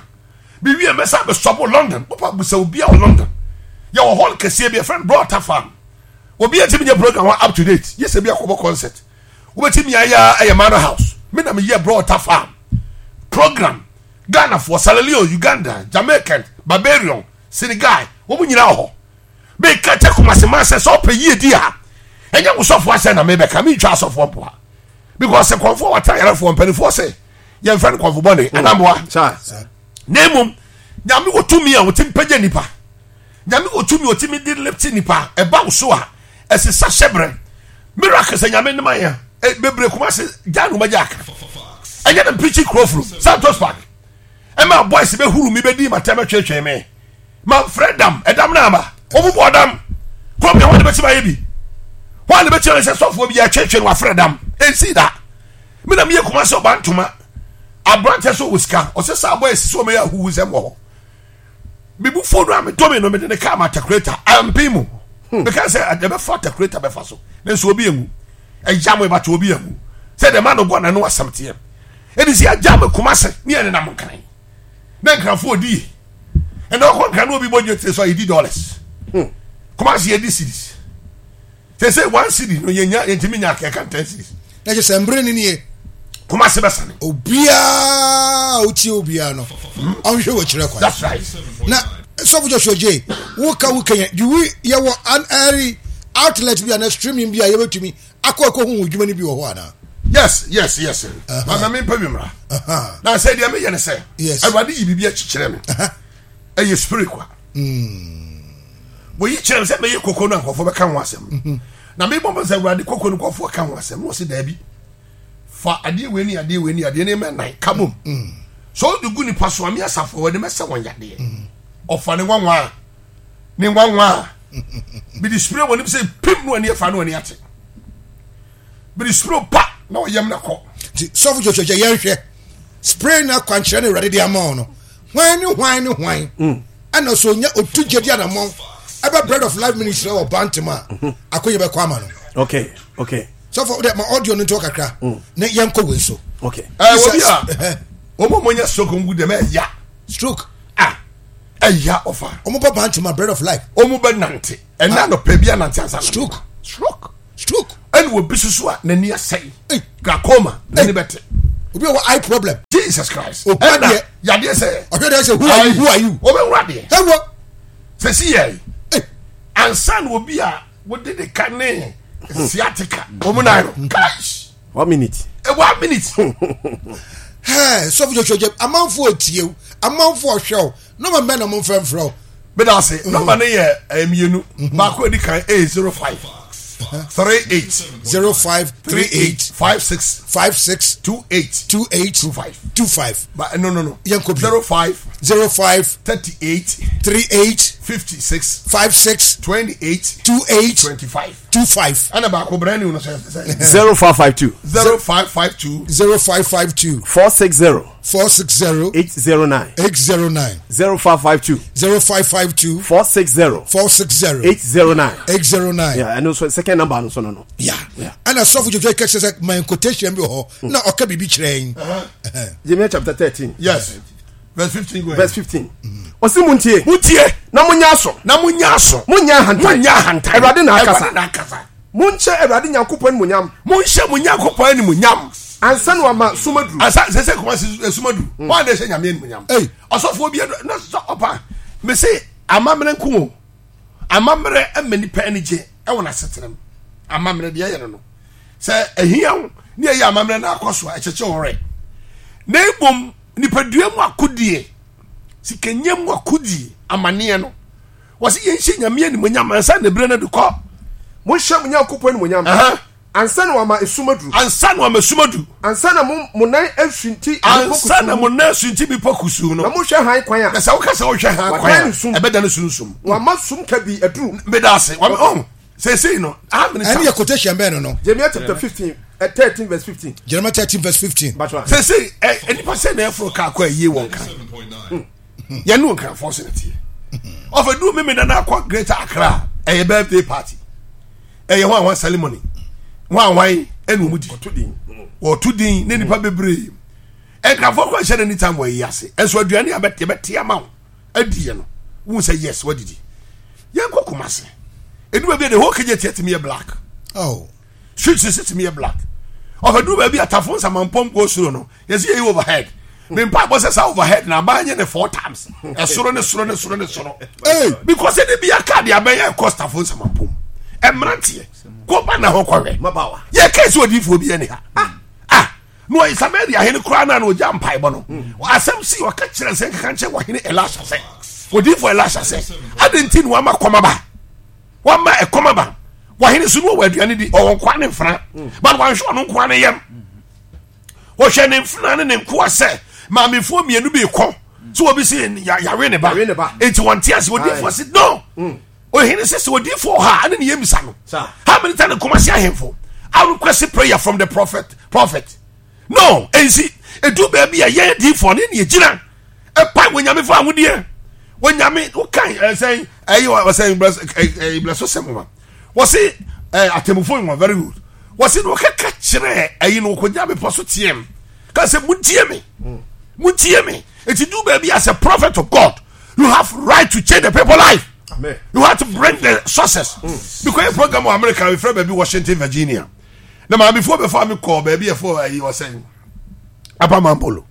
mewie mɛsa bɛsɔbo London wopa busa obi a wɔ London yɛwɔ hall kɛseɛ bi ɛfrɛ no Brɔta Farm obi a ntumi nyɛ program hɔ up to date yɛ sɛ bi akɔbɔ concert wobɛtumi ayɛ ɛyɛ Manor House me na meyɛ Brɔta Farm program Ghanafoɔ Sierra Leone Uganda Jamaican Barbarian Senegal wɔn nyinaa wɔ hɔ meka kyɛ Kumasi man sɛ sɛ ɔpɛ yie di a ɛnyɛ wo sɔfoɔ asɛ na mebɛka mentwa asɔfoɔ mpoa because kɔnfoɔ wata yarefoɔ mpanimfoɔ sɛ yɛmfrɛ no kɔnfo bɔne mm. anamboa na mmom nyame wɔ tumi a ɔtumi pagya nipa nyame wɔ tumi a ɔtumi de lifte nipa ɛba wo so a ɛsesa hyɛbrɛ miracle sɛ nyame ne ma yɛ e, bebree kuma se gya no magya aka ɛnyɛ na mpirikyi kurofuro Santos Park ɛma boys bɛhuru mi bɛdi matɛm atwetwe me manfrɛ dam ɛdam no ama wɔn bɔ dam kurom yɛ wɔn de bɛtumi ayɛ bi wɔn de bɛtumi ayɛ sɛ sɔfoɔ bi yɛ atwetwe no wafrɛ dam ɛnsi da me na meyɛ kuma sɛ ɔba ntoma aberantɛ sɛ ɔwɔ sika ɔsɛ sɛ abɔ ɛsi sɛ ɔmɛyɛ ahuhu sɛm wɔ hɔ mebu fo no a medɔ me no mede ne kaa ma atakureta ampe mu hmm. meka sɛ ɛbɛfa atakureta bɛfa so ne nso obi anwu ɛgya mo ɛbata obi anwu sɛ deɛ ma no gɔ na no asɛm teɛ ɛde sɛ agya me kuma sɛ ne yɛ nenam nkran na nkranfoɔ ɔdi ye ɛna ɔkɔ nkran na obi bɔ dwa tire so a yɛdi dollars hmm. kuma sɛ yɛdi series sɛ sɛ one cedi no yɛnya yɛntumi nya akɛka ten cedis. Na kyerɛ sɛ mbere no nie. Kumasi bɛsane. Obiara a wotie obiara no ɔnhwɛ wɔ kyerɛ kwan. That's right. Na sɔfo Joshua J woka wo kenya do we yɛwɔ an ɛri outlet bi anaa streaming bi a yɛbɛtumi akɔ akɔ hu dwuma no bi wɔ hɔ anaa. Yes yes yes. Mama mi mpɛ bi mmra. Na sɛ deɛ meyɛ ne sɛ. Yes. Awurade yi biribi akyikyerɛ me. Ɛyɛ spirit kwa. Mm. Wɔyi kyerɛ me sɛ mɛyɛ koko no a nkurɔfoɔ bɛka ho asɛm mhm. na mebɔ mɔ sɛ awurade koko no nkurɔfoɔ ka ho asɛm na ɔse daabi fa adeɛ wei ne adeɛ wei ne adeɛ ne mɛ nan ka bom mm. sɛ ɔde gu nipa so ame asafo wɔde mɛsɛ wɔn yadeɛ mm. ɔfa ne nwanwa a ne nwanwa a mede spray wɔn nim sɛ pim no ani afa no ani ate Mede suro pa na ɔyam na kɔ. Nti sɔfo Joshua gya yɛnhwɛ spray na akwankyerɛ no Awurade de ama wo no, hwan ne hwan ne hwan mm. Ɛna so onya otu gyedi anammɔn ɛbɛ Bread of Life Ministry wɔ Bantam a mhm. akonya bɛkɔ ama no. Okay, okay. Sɔfo de ma audio no nto kakra mm. na yɛnkɔ wei so. Okay. Ɛ wɔ bi a wɔn a wɔnya stroke ngu dɛm ɛya. Stroke. Ah ɛya ɔfa. Wɔn bɛ Bantam a Bread of Life. Wɔn bɛ nante ɛna nɔpɛ bi anante ansa. Stroke. Stroke. Stroke. Ɛna obi soso a n'ani asɛe. Glaucoma n'ani bɛ te. Obi a wɔ eye problem. Jesus Christ. Obi adeɛ. Yadeɛ sɛ. Ɔhwɛ deɛ sɛ who are you who are you. Obi wura deɛ. Ɛwɔ. Sɛ si yɛ yi. Ansa na obi a wode de ka ne sciatica wɔn nan no. Guys. One minute. Eh, one minute. Hɛɛ sɔfo Joshua jɛ amanfo etie o amanfo ɔhwɛ o nɔmba mbɛ na mo nfɛ nfrɛ o. Bẹ́ẹ̀ ase nɔmba ne yɛ eh, mmienu baako edi kan ɛyɛ zero five three eight zero five three eight five six five six two eight two eight two five two five. But no no no. Yẹn ko bi. Zero five zero five thirty eight three eight fifty six five six twenty eight two eight twenty five two five. Ɛna baako brand new no sɛ sɛ. Zero five five two. Zero five five two. Zero five five two. Four six zero. Four six zero. Eight zero nine. Eight zero nine. Zero five five two. Zero five five two. Four six zero. Four six zero. Eight zero nine. Eight zero nine. Yeah, and also second number no so no no. Yeah. Yeah. Ɛna sɔfo Joshua kɛse sɛ my quotation bi wɔ hɔ na ɔka biribi kyerɛ yɛn. Jeremiah chapter thirteen. Yes. Verse fifteen. Go ahead. Verse fifteen. Ɔsi mu ntie. Mu ntie. Na mo nya aso. Na mo nya aso. Mo nya ahantan. Mo nya ahantan. Awurade na akasa. Awurade na akasa. Monhyɛ Awurade Nyankopɔn animuonyam. Monhyɛ mo Nyankopɔn animuonyam. Ansa na wama sum aduru. Ansa sɛ sɛ kuma sum aduru. Wɔn a na ɛhyɛ Nyame animuonyam. Ɔsɔfoɔ bi adu na sɛ ɔpa mese amammerɛ nko o. Amammerɛ ɛma nipa ani gye ɛwɔ n'asetena mu. Amammerɛ deɛ ɛyɛ no no. Sɛ ɛhia wo ne ɛyɛ amammerɛ na akɔ so a ɛkyekye wo werɛ. Na mmom nipadua mu akodie, sikanyɛ mu akodie, amaneɛ no. Wɔsi yɛn hyɛ Nyame animuonyam ansa na ebire no de kɔ. Monhyɛ mo Nyankopɔn animuonyam ansa na wama esum aduru. Ansa na wama esum aduru. Ansa na mo mo nan asunti bepɔ kusuu. Ansa na mo nan asunti bepɔ kusuu no. Na mohwɛ hann kwan a. Na sɛ woka sɛ wohwɛ hann kwan a, ɛbɛda no sunsum. Wama sum kabii aduru. Meda ase. Wama ɔn seesei no. Ɛne yɛ quotation bɛn no no. Jeremiah chapter fifteen eh, thirteen verse fifteen. Jeremiah thirteen verse fifteen. Seesei ɛ nipa sɛ na ɛforo kaa kɔ ayie wɔn kan. Yɛn ne nkrafoɔ so na teɛ. Ɔfɛ du mímí nana akɔ Greater Accra ɛyɛ birthday party ɛyɛ hwan hwan ceremony hwan hwan ɛna wɔn di wɔto din ne nipa bebree nkrafoɔ kɔ ɛhyɛ n'ani tam wɔ ayi ase ɛnso aduane a yɛbɛte ama wo adi yɛ no wɔn sɛ yes wɔdidi yɛn kɔ Kumasi edu baabi a the whole K J T ɛtumi yɛ black. Oh. Street sisi tumi yɛ black. Ɔfɛ du baabi a tafo nsamanpɔm kɔ soro no yɛsi yɛ yi overhead mi mpa bɔ sɛ saa overhead na aban yɛ ne four times ɛsoro ne soro ne soro ne soro because ɛde bi aka de abɛn yɛ kɔ tafo nsamanpɔm ɛmmeranteɛ kɔ ba na hɔ kɔhwɛ yɛ kɛse odiifoɔ bi ɛni ha ah ah na ɔyɛ Samaria ahene koraa na na ɔgya mpaebɔ no asɛm si ɔka kyerɛ sɛ nkeka nkyɛn wɔhene Elisha sɛ odiifoɔ Elisha sɛ adi nti na wama kɔma ba wama ɛkɔm aba wɔhene so no wɔ aduane di ɔwɔ nkoa ne mfena but wanhwɛ ɔno nkoa ne yam wɔhwɛ ne mfena ne ne nkoa sɛ maamefoɔ mmienu bi kɔ so obi sɛ yawe ne ba enti wɔnte ase odiifoɔ se no ohene sɛ sɛ odiifoɔ ha ɛne ne yɛmisa no how many times Kumasi ahemfo I request prayer from the prophet prophet no ɛnsi ɛdu baabi a yɛn diifoɔ ne ne yɛgyina ɛpa wɔ nyame fo ahodeɛ wɔ nyame wokan ɛsɛn ɛyi wɔsɛn blɛso sɛm ma wɔse atemmufo nwa very good wɔse na wɔkɛka kyerɛ ɛyi no wɔkɔgyina bepɔ so teɛm ka sɛ montie me montie me ɛti du baabi as a prophet of God you have right to change the people life. Amen. You have to bring the success. Mm. Because program wɔ America mefrɛ baabi Washington Virginia na maamefoɔ bɛfa me kɔɔ baabi ɛfo ɛyi wɔsɛn Apamampolo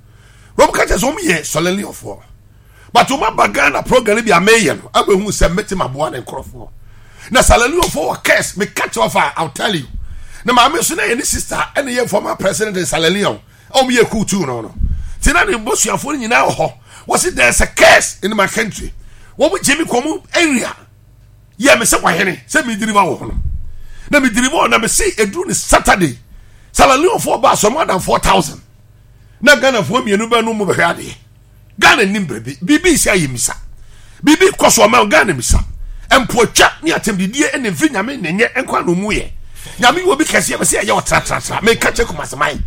wɔn ka kyerɛ sɛ wɔn yɛ sɔlɛliɔfoɔ but wɔn aba Ghana program bi a meyɛ no abɛhu sɛ mete ma boa ne nkorɔfoɔ na sɔlɛliɔfoɔ wɔ curse meka kyerɛ ɔfa I will tell you na maame nso na yɛ ne sister ɛna yɛ former president sɔlɛliɔ a wɔn yɛ kuutu no no ti na ne mbosuafoɔ no nyinaa wɔ hɔ wɔsi there is a curse in my country wɔn gye mi kɔ wɔn area yɛ me sɛ wahene sɛ mi diriba wɔ hɔ no na mi diriba wɔ na mi se eduru ne Saturday sɔlɛliɔfoɔ ba asɔmu adan four thousand. Na Ghanafoɔ mmienu bɛ no mu bɛhwɛ adeɛ Ghana nim biribi biribi si ayɛ misa biribi kɔ so ɔma Ghana misa mpoatwa ne atɛmdidie ne mfiri nyame ne nyɛ nkwa na ɔmu yɛ Nyame wɔ bi kɛseɛ bɛ sɛ ɛyɛ ɔtratratra. Meka kyɛ Kumaseman,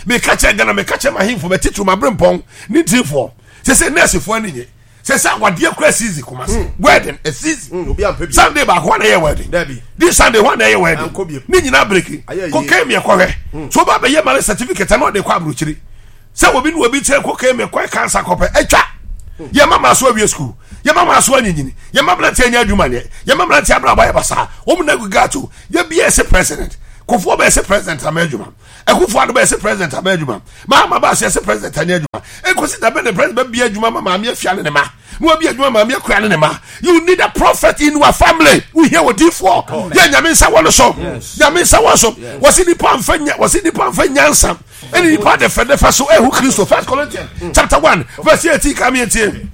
meka kyɛ Ghana, meka kyɛ mahemfo, mɛtitiri maberempɔn ne ntirifoɔ. Sɛ sɛ nɛɛsefoɔ ani nye. Sɛ sɛ awadeɛ kura season Kumase. Mm. Wedding a season. Mm, Sunday baako hɔ na ɛyɛ wedding. This Sunday hɔ na ɛyɛ wedding. Ne nyinaa breki. Kokain mi ɛkɔhwɛ. Mm. So ba bɛyɛ marriage certificate na ɔde kɔ aburokyiri. Sɛ obi ne obi kyerɛ kokain mi kɔ cancer kɔpɛ atwa. Yɛ mama so awie school. Yɛ mama so anyinyini. Yɛ mama mmeranteɛ anya adwuma nyɛ. Yɛ mama mmeranteɛ abrabɔ ayɛ basaa. Wɔn na gu gato. Yɛ bi ɛsɛ president. Kofoɔ bɛ ɛsɛ president ama adwuma. Akufo Addo bɛ ɛsɛ president ama adwuma. Mahama ba so ɛsɛ president anya adwuma. Ekosi da bɛ ne president bɛ bi adwuma ma maame afia ne ne ma. Na wabi adwuma maame akura ne ne ma. You need a prophet in your family. Wohia odiifoɔ. Yɛ Nyame nsa wɔ no so. Nyame nsa wɔ so. Wɔsi nipa nfa nya wɔsi nipa nfa nyansa. Ɛne nipa dɛfɛdɛfɛ so ɛhu Kristo. First Corinthians chapter one verse eighteen kàmi etie.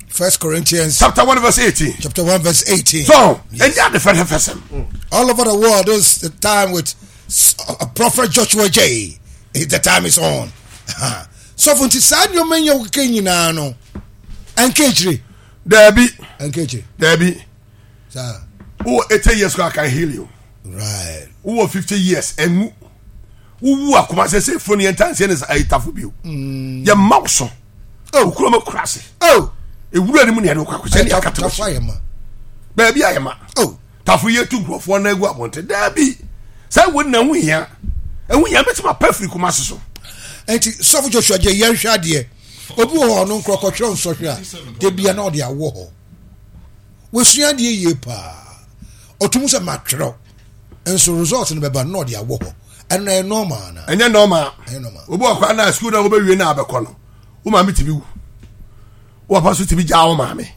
First Corinthians chapter one verse eighteen. Chapter one verse eighteen. So, ɛnyɛ adefɛdɛfɛ sɛm. All over the world, this is the time with uh, Prophet Joshua J. The time is on. So, for nti saa nneɛma nyɛ wokeka nyinaa no, ɛnka akyire. Daabi. Ɛnka akyire. Daabi. Saa. Wowɔ eighty years I can heal you. Right. Wowɔ fifty years ɛnwu. Wowu akoma sɛ sɛ funu yɛn ntanseɛ ne ayitafo bio. Yɛ mma wo so. Oh. Okuro mu kura ase. Oh. Ewura ni mu ne yɛde kɔ akɔhyɛ ne akata Tafo ayɛ ma. Baabi ayɛ ma. Oh. Tafo yɛ tu nkurɔfoɔ na egu abɔnten. Daabi. Sɛ wo na ɛho hia. Ɛho hia bɛtumi apɛ firi kuma se so. Nti sɔfo Joshua gye yɛn hwɛ adeɛ. Obi wɔ hɔ ɔno nkorɔ kɔtwerɛ nsɔhwɛ a debia na ɔde awɔ hɔ. Wɔsua adeɛ yie paa. Ɔtum sɛ matwerɛ nso result no bɛba na ɔde awɔ hɔ. Ɛno na ɛyɛ normal na. Ɛnyɛ normal. Ɛnyɛ normal. Obi wɔ kwan na sukuu na wobɛwie na abɛkɔ no. Wo maame tumi wu. Wo papa nso tumi gyaa wo maame.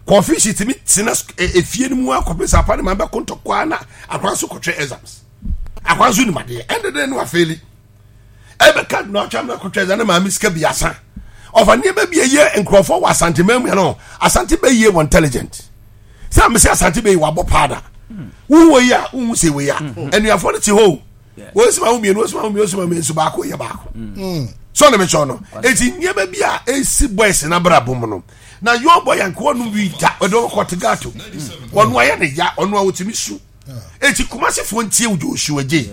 Confusion tumi tena efie no mu akɔpɛ sɛ apa ne maame bɛko ntɔkwa na akora nso kɔtwɛ exams. Akora nso nim adeɛ. Ɛnde dɛ no afeeli. Ɛbɛka na ɔtwa na kɔtwɛ exam ne maame sika bi asa. Ɔfa nneɛma bi ɛyɛ nkurɔfoɔ wɔ Asante mɛmu no. Asante bɛyie wɔ intelligent. Sɛ amese Asante bɛyie wabɔ paada. Wohu wɔ yi a wohu sɛ wɔ yi a. Anuafoɔ no te hɔ o. Wɔn si ma wo mmienu, wɔn si ma wo mmienu, wɔn si ma wo mmienu, nso baako yɛ baako. So na mekyerɛ no. Eti nneɛma bi a esi boys n'abrabɔ mu no. Na young boy yanko ɔno wi da ɔde ɔkɔ te gato. Ɔno ayɛ ne ya, ɔno a otumi su. Eti Kumasefoɔ ntie wo Joshua J.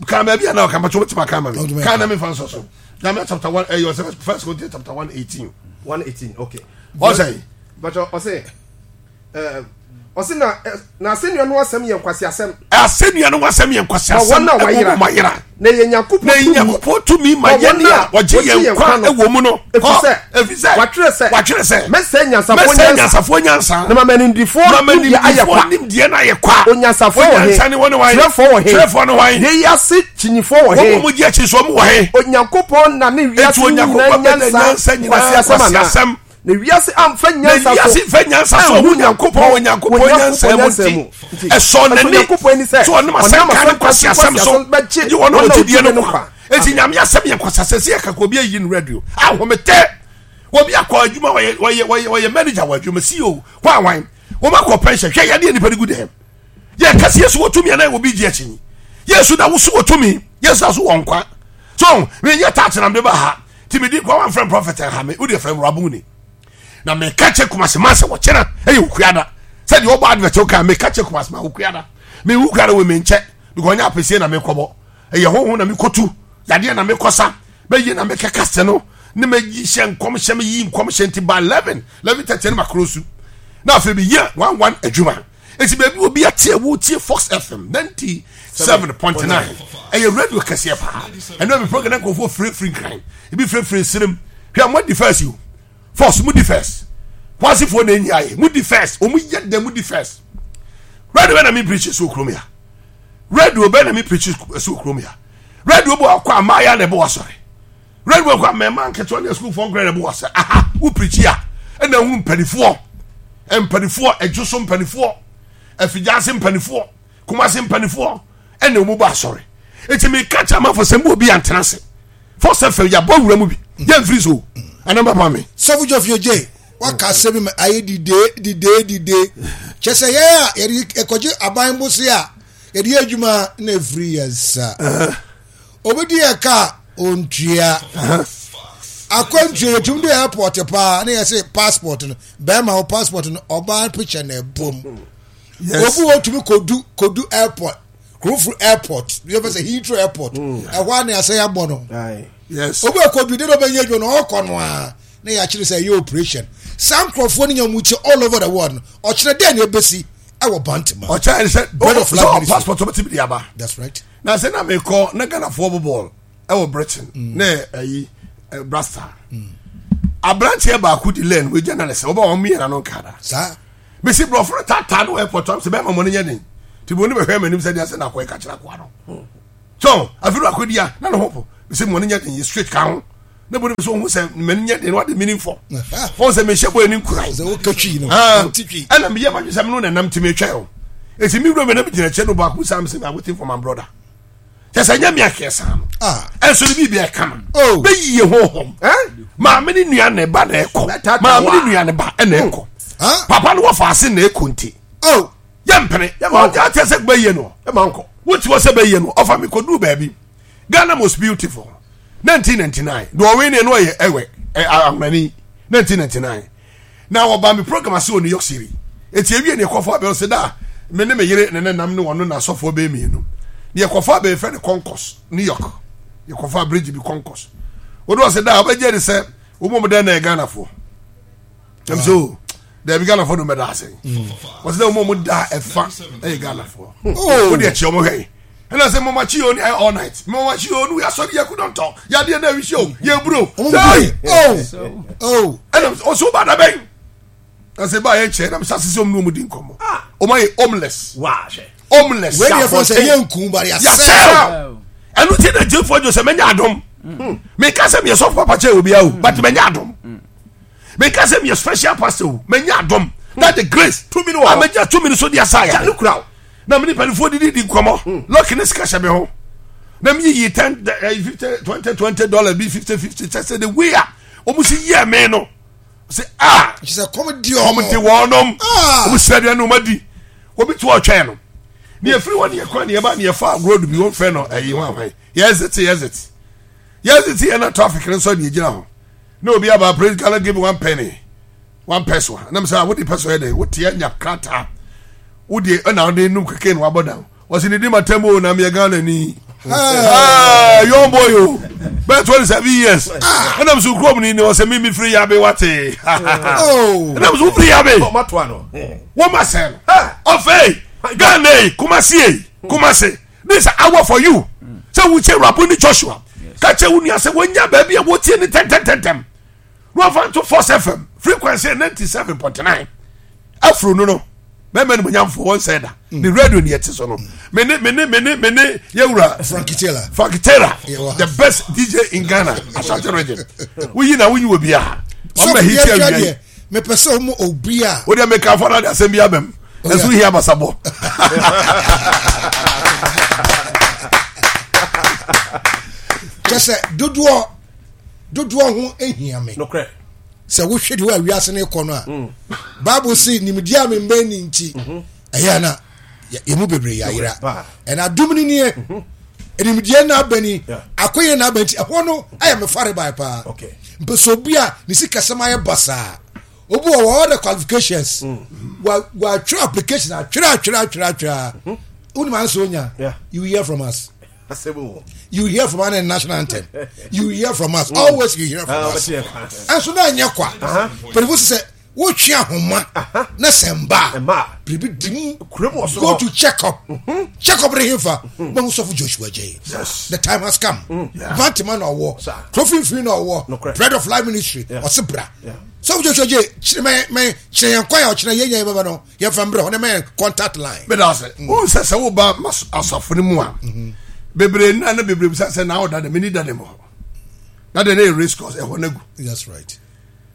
Kan baabi a na ɔka mpatwa wobɛtumi aka ama me. Kan na mefa nsɔ so. Nyame chapter one ɛyɛ ɔsɛ First Corinthians chapter one eighteen. One eighteen okay. Ɔsɛ. Bàtà ɔsɛ ɔsɛ na na asɛnnua no asɛm yɛ nkwaseasɛm. Asɛnnua no asɛm yɛ nkwaseasɛm. Ma wɔn a wɔayera. Ɛwɔ wɔayera. Na ɛyɛ Nyankopɔn Na ɛyɛ tumi. Nyankopɔn tumi ma Ma yɛn wɔn a a wɔgye wɔgye yɛn yɛn nkwa nkwa no. wɔ mu no. Efisɛ Efisɛ wɔatwerɛ sɛ wɔatwerɛ sɛ mɛsɛe nyansafoɔ mɛsɛe nyansa nyansafoɔ nyansa. na mama animdefoɔ Na ma nimdeɛ ayɛ nimdefoɔ kwa. nimdeɛ no ayɛ kwa. Onyansafoɔ wɔ he? Onyansa ne wɔne hwan? Twerɛfoɔ wɔ he? Twerɛfoɔ ne hwan? Yei ase kyinyifoɔ wɔ Wɔn he? a wɔgye akyi so wɔn wɔ he? Onyankopɔn na ne wiase Enti Onyankopɔn nyinaa bɛda nyansa nyansa nyinaa nkwaseasɛm anaa? nkwaseasɛm. Na wiase amfa Na nyansa wiase so mfa nyansa so anhu ɔho Nyankopɔn wɔ Nyankopɔn nyansa mu nti ɛsɔ n'ani Onyankopɔn ani sɛ sɛ ɔnam asɛnka ne nkwaseasɛm so bɛgye gye wɔn a wɔgye die no nkwa. Enti Amen. Nyame asɛm yɛ nkwaseasɛm sɛ yɛka ka obi ayi no radio ahomete obi akɔ adwuma wɔyɛ wɔyɛ wɔyɛ wɔyɛ manager wɔ adwuma C E O kɔ awan wɔn akɔ pension hwɛ yadeɛ nipa de gu dɛm yɛ kasi Yesu wɔ tumi anaa obi gye akyi Yesu da woso wɔ tumi Yesu da so wɔ nkwa so menyɛ taakye na mede ba ha ti medi nkwa wɔn frɛ prophet ha me wode frɛ rabuni na meka kyɛ Kumasi man sɛ wɔkyena ɛyɛ okuada sɛ deɛ ɔbɔ advert woka meka kyɛ Kumasi man okuada me wukuada wɔ me nkyɛ because ɔnyɛ apɛsie na mekɔbɔ ɛyɛ honhom na mekɔtu yadeɛ na mekɔsa bɛyɛ na mekɛka sɛ no ne mayi hyɛ nkɔm hyɛ meyi nkɔm hyɛ nti ba eleven eleven thirty ne makoro su na afei meyɛ one one adwuma eti baabi obi ate a wotie Fox F M ninety seven point nine ɛyɛ radio kɛseɛ paa ɛno mi program nkurɔfoɔ firifiri nkran ebi firifiri nsirim hwɛ mo di first yi o Fox mo di first kwasifoɔ na enyi ayɛ mo di first wɔn yɛ dɛ mo di first radio bɛ na mi preach so kurom ya radio bɛ na mi preach so kurom ya radio bɔ akɔ amaaya na ɛbɔ wasɔre radio bɔ akɔ amɛma nketewa ne asukuufoɔ nkran na ɛbɔ wasɔre aha wo preach ya ɛna ehunu mpanifoɔ mpanifoɔ ɛdwo so mpanifoɔ afidjase mpanifoɔ kumase mpanifoɔ ɛna wɔn bɔ asɔre eti mi ka kyerɛ amanfo sɛ mo obi antena ase Fox F M yabɔ wura mu bi yɛn firi so ɛna bɛ pa mi. Sɔfo Joshua J waka asɛm ma ayɛ dide dide dide kyɛ sɛ yɛn a yɛde ɛkɔgye aban bose a yɛde yɛ adwuma na efiri yɛn nsa obi di yɛ ka ontua akwantuo yɛtum de airport paa na yɛsɛ passport no bɛrima wo passport no ɔbaa picture na ɛbom obi wɔ tumi kodu kodu airport Kurofo airport yɛ fɛ sɛ Heathrow airport ɛhɔ a na yɛasɛ yɛabɔ no. Aye. Yes. Obi akɔdu de na ɔbɛnyɛ adwuma no ɔkɔ no a na yɛakyerɛ sɛ ɛyɛ operation. Saa nkurɔfoɔ no nya mu kyɛ all over the world no ɔkyerɛ dɛn na ɛbɛsi ɛwɔ Bantama. Ɔkyɛ sɛ Bread of life sɛ ministry. passport ɔbɛtumi de aba. That's right. Na sɛ na mekɔ na Ghanafoɔ bɔ bɔɔl ɛwɔ Britain na ɛyi ɛ, Brasta. Aberanteɛ baako di lane wei journalist wɔba wɔn mmiɛnna no nkada. Saa. Mesi borɔfo no taataa no wɔ airport am sɛ bɛrima mɔ no nyɛ den. Nti bɔ ne bɛhwɛ m'anim sɛ deɛ sɛ na akɔyɛ kakyere akoa no. So afei no akɔdi a na ne ho po. Mesi mɔ no nyɛ den yɛ straight ka ho. Na bɔ ne sɛ ohun sɛ m'ani nyɛ den na wade meaning for. Wɔn sɛ mehyɛ bɔ ani nkura. Sɛ woka twi no. Ah, Wote twi. ɛna meyɛ madwe sɛ meno nanam nti metwɛn o ɛti me wura me na megyina kyɛ no baako saa mesɛ I'm waiting for my brother kyɛ sɛ nyɛ me akeɛ saa no Ah. ɛnso no biribi ɛka Oh. no bɛyie honhom maame ne nua ne ba na ɛkɔ Bɛtata maame wa. ne nua ne ba ɛna ɛkɔ Huh? papa no wɔfa ase na ɛkɔ nti Oh. yɛmpene Yɛma ɔgya kyɛ sɛ bɛyie no Ɛma nkɔ. wote hɔ sɛ bɛyie no ɔfa me kɔduru baabi Ghana most beautiful nineteen ninety-nine deɛ ɔwe ne no ɔyɛ ɛwɛ ɛ, ahomani nineteen ninety-nine na wɔba me program ase wɔ New York City. Eti ewie ne ɛkɔfo abɛn sɛ da me ne me yere ne ne nam ne wɔn na asɔfoɔ bɛyɛ mmienu ne yɛkɔfo abɛn fɛ ne Concourse, New York. Yɛkɔfo bridge bi Concourse wɔde wɔ sɛ da ɔbɛgye de sɛ wɔn mu dɛn na yɛ Ghanafoɔ ɛm so dɛbi Ghanafoɔ no mɛda ase wɔsɛ dɛ wɔn mu da ɛfa ɛyɛ Ghanafoɔ Oh. o de ɛkyɛ wɔn hwɛ yi ɛna sɛ mɔmɔ akyi o ni all night mɔmɔ akyi o ni asɔre yɛ kudɔntɔ yadeɛ na ewi o yɛ buro. Ɔmo Sɛyi! bue. Oh. Oh. Ɛna ɔsɛ ɔba da bɛn na sɛ ba yɛ nkyɛn na sɛ asese ɔmo ne ɔmo di nkɔmɔ ɔmo ayɛ homeless. Waa hwɛ. Homeless. Wei deɛ fɔ sɛ yɛ nkum bari asɛ. Yasɛw ɛnu ti na gyefo jɔ sɛ mɛnya adom. Meka sɛ meyɛ sɔfo papa kyɛ obi awo, but mɛnya adom. Meka sɛ meyɛ special pastor o, mɛnya adom that the grace Tumi no wɔ hɔ. a mɛnya tumi no so de asa Gya yɛ no kura o. na mene mpanimfoɔ didi di nkɔmmɔ lɔki ne sika hyɛ me ho na meyiyi ten eh, fifty twenty twenty dollar bi fifty fifty kyɛ sɛ the way a wɔn si yɛ me no sɛ ah Kyerɛ sɛ kɔm di wɔn te ɔmo. wɔnom Ah. wɔn sɛ aduane wɔn adi obi to ɔtwɛn no ne yɛfiri hɔ ne yɛkɔ ne yɛba ne yɛfa road bi wɔn fɛ no ɛyi wɔn ahwan yɛ exit yɛ exit yɛ exit yɛ na traffic no nso ne yɛgyina hɔ na obi aba, "Please, can I give me one penny, one peso?" Na mo sɛ wode peso yɛ dɛ wote anya krataa wode ɛna wode num keke na wabɔ down. Wɔsi ne di ma tɛm o na meyɛ Ghana ni. Ah, young boy o bɛɛ twenty seven years ɛna mo so kurom ni ni ɔsɛ mi mi firi yabe wate. Oh. Ɛna mo so firi yabe. Ɔma toa no. Wọ́n ma sẹ́ no ọ̀fẹ́ Ghana yi, Kumasi yi, Kumasi, this is hour for you sɛ wukyɛ Rabuni Joshua kakyɛ wo nua sɛ wɔnya baabi a wɔtie ne tɛntɛntɛntɛm na wɔfa nto Force F M frequency ninety seven point nine. Afro no no bɛrima no munyamfo wɔn sɛ da ne radio ni ɛte so no mene mene mene mene yɛwura Frankie Taylor. Frankie Taylor. Yeah, well. The best D J in Ghana, Ashanti region. Woyi na woyi wɔ biara Sɔfo ɔmɛ hiti yɛ awia yi deɛ mepɛ sɛ ɔmo obi a o deɛ meka fɔ na de asɛm bi abɛm ɛso hia basabɔ. Kyɛ sɛ dodoɔ dodoɔ ho ehia me. Nokorɛ. Sɛ wohwɛ deɛ wɔ awiase no kɔ no a Bible si nimdeɛ a membɛn ni nti ɛyɛ ana yɛmu bebree yɛayera. Paa. Ɛna adom no nie nimdeɛ no aba ni Yeah. akɔyɛ no aba nti ɛhɔ no ayɛ me fare bae paa. Okay. Mpɛ sɛ obi a ne sikasɛm ayɛ basaa, obi wɔ wɔ all the qualifications, wa watwerɛ application atwerɛ atwerɛ atwerɛ atwerɛ a wonim ansa onya. Yeah. You hear from us. Asɛm o. You hear from our national anthem. You hear from us always. You hear from Ah, us. ɔbɛte yɛn kwan. Ɛnso na ɛnyɛ kwa. Pɛrɛfo sɛ wotwe ahoma na sɛ mba a Mba a. biribi di mu. Kurom wɔ soro Go hɔ. to check up, check up ne hefa mahu sɔfo Joshua Jay. Yes. The time has come. Bantama na ɔwɔ Sir. kuro finfin na ɔwɔ Nokorɛ. Bread of Life Ministry. Yeah. Ɔse bra. Yeah. Sɔfo Joshua Jay kyerɛ mɛ mɛ kyerɛ yɛn kwan a ɔkyerɛ yɛn yɛn bɛbɛ no yɛmfa mbrɛ hɔ ne mɛ contact line. Meda ase. Wohu sɛ sɛ woba mas- asafo no mu a bebree nna na bebree bisa sɛ na woda de meni da de mɔ hɔ na de ne yɛ race course ɛhɔ no agu. That's right.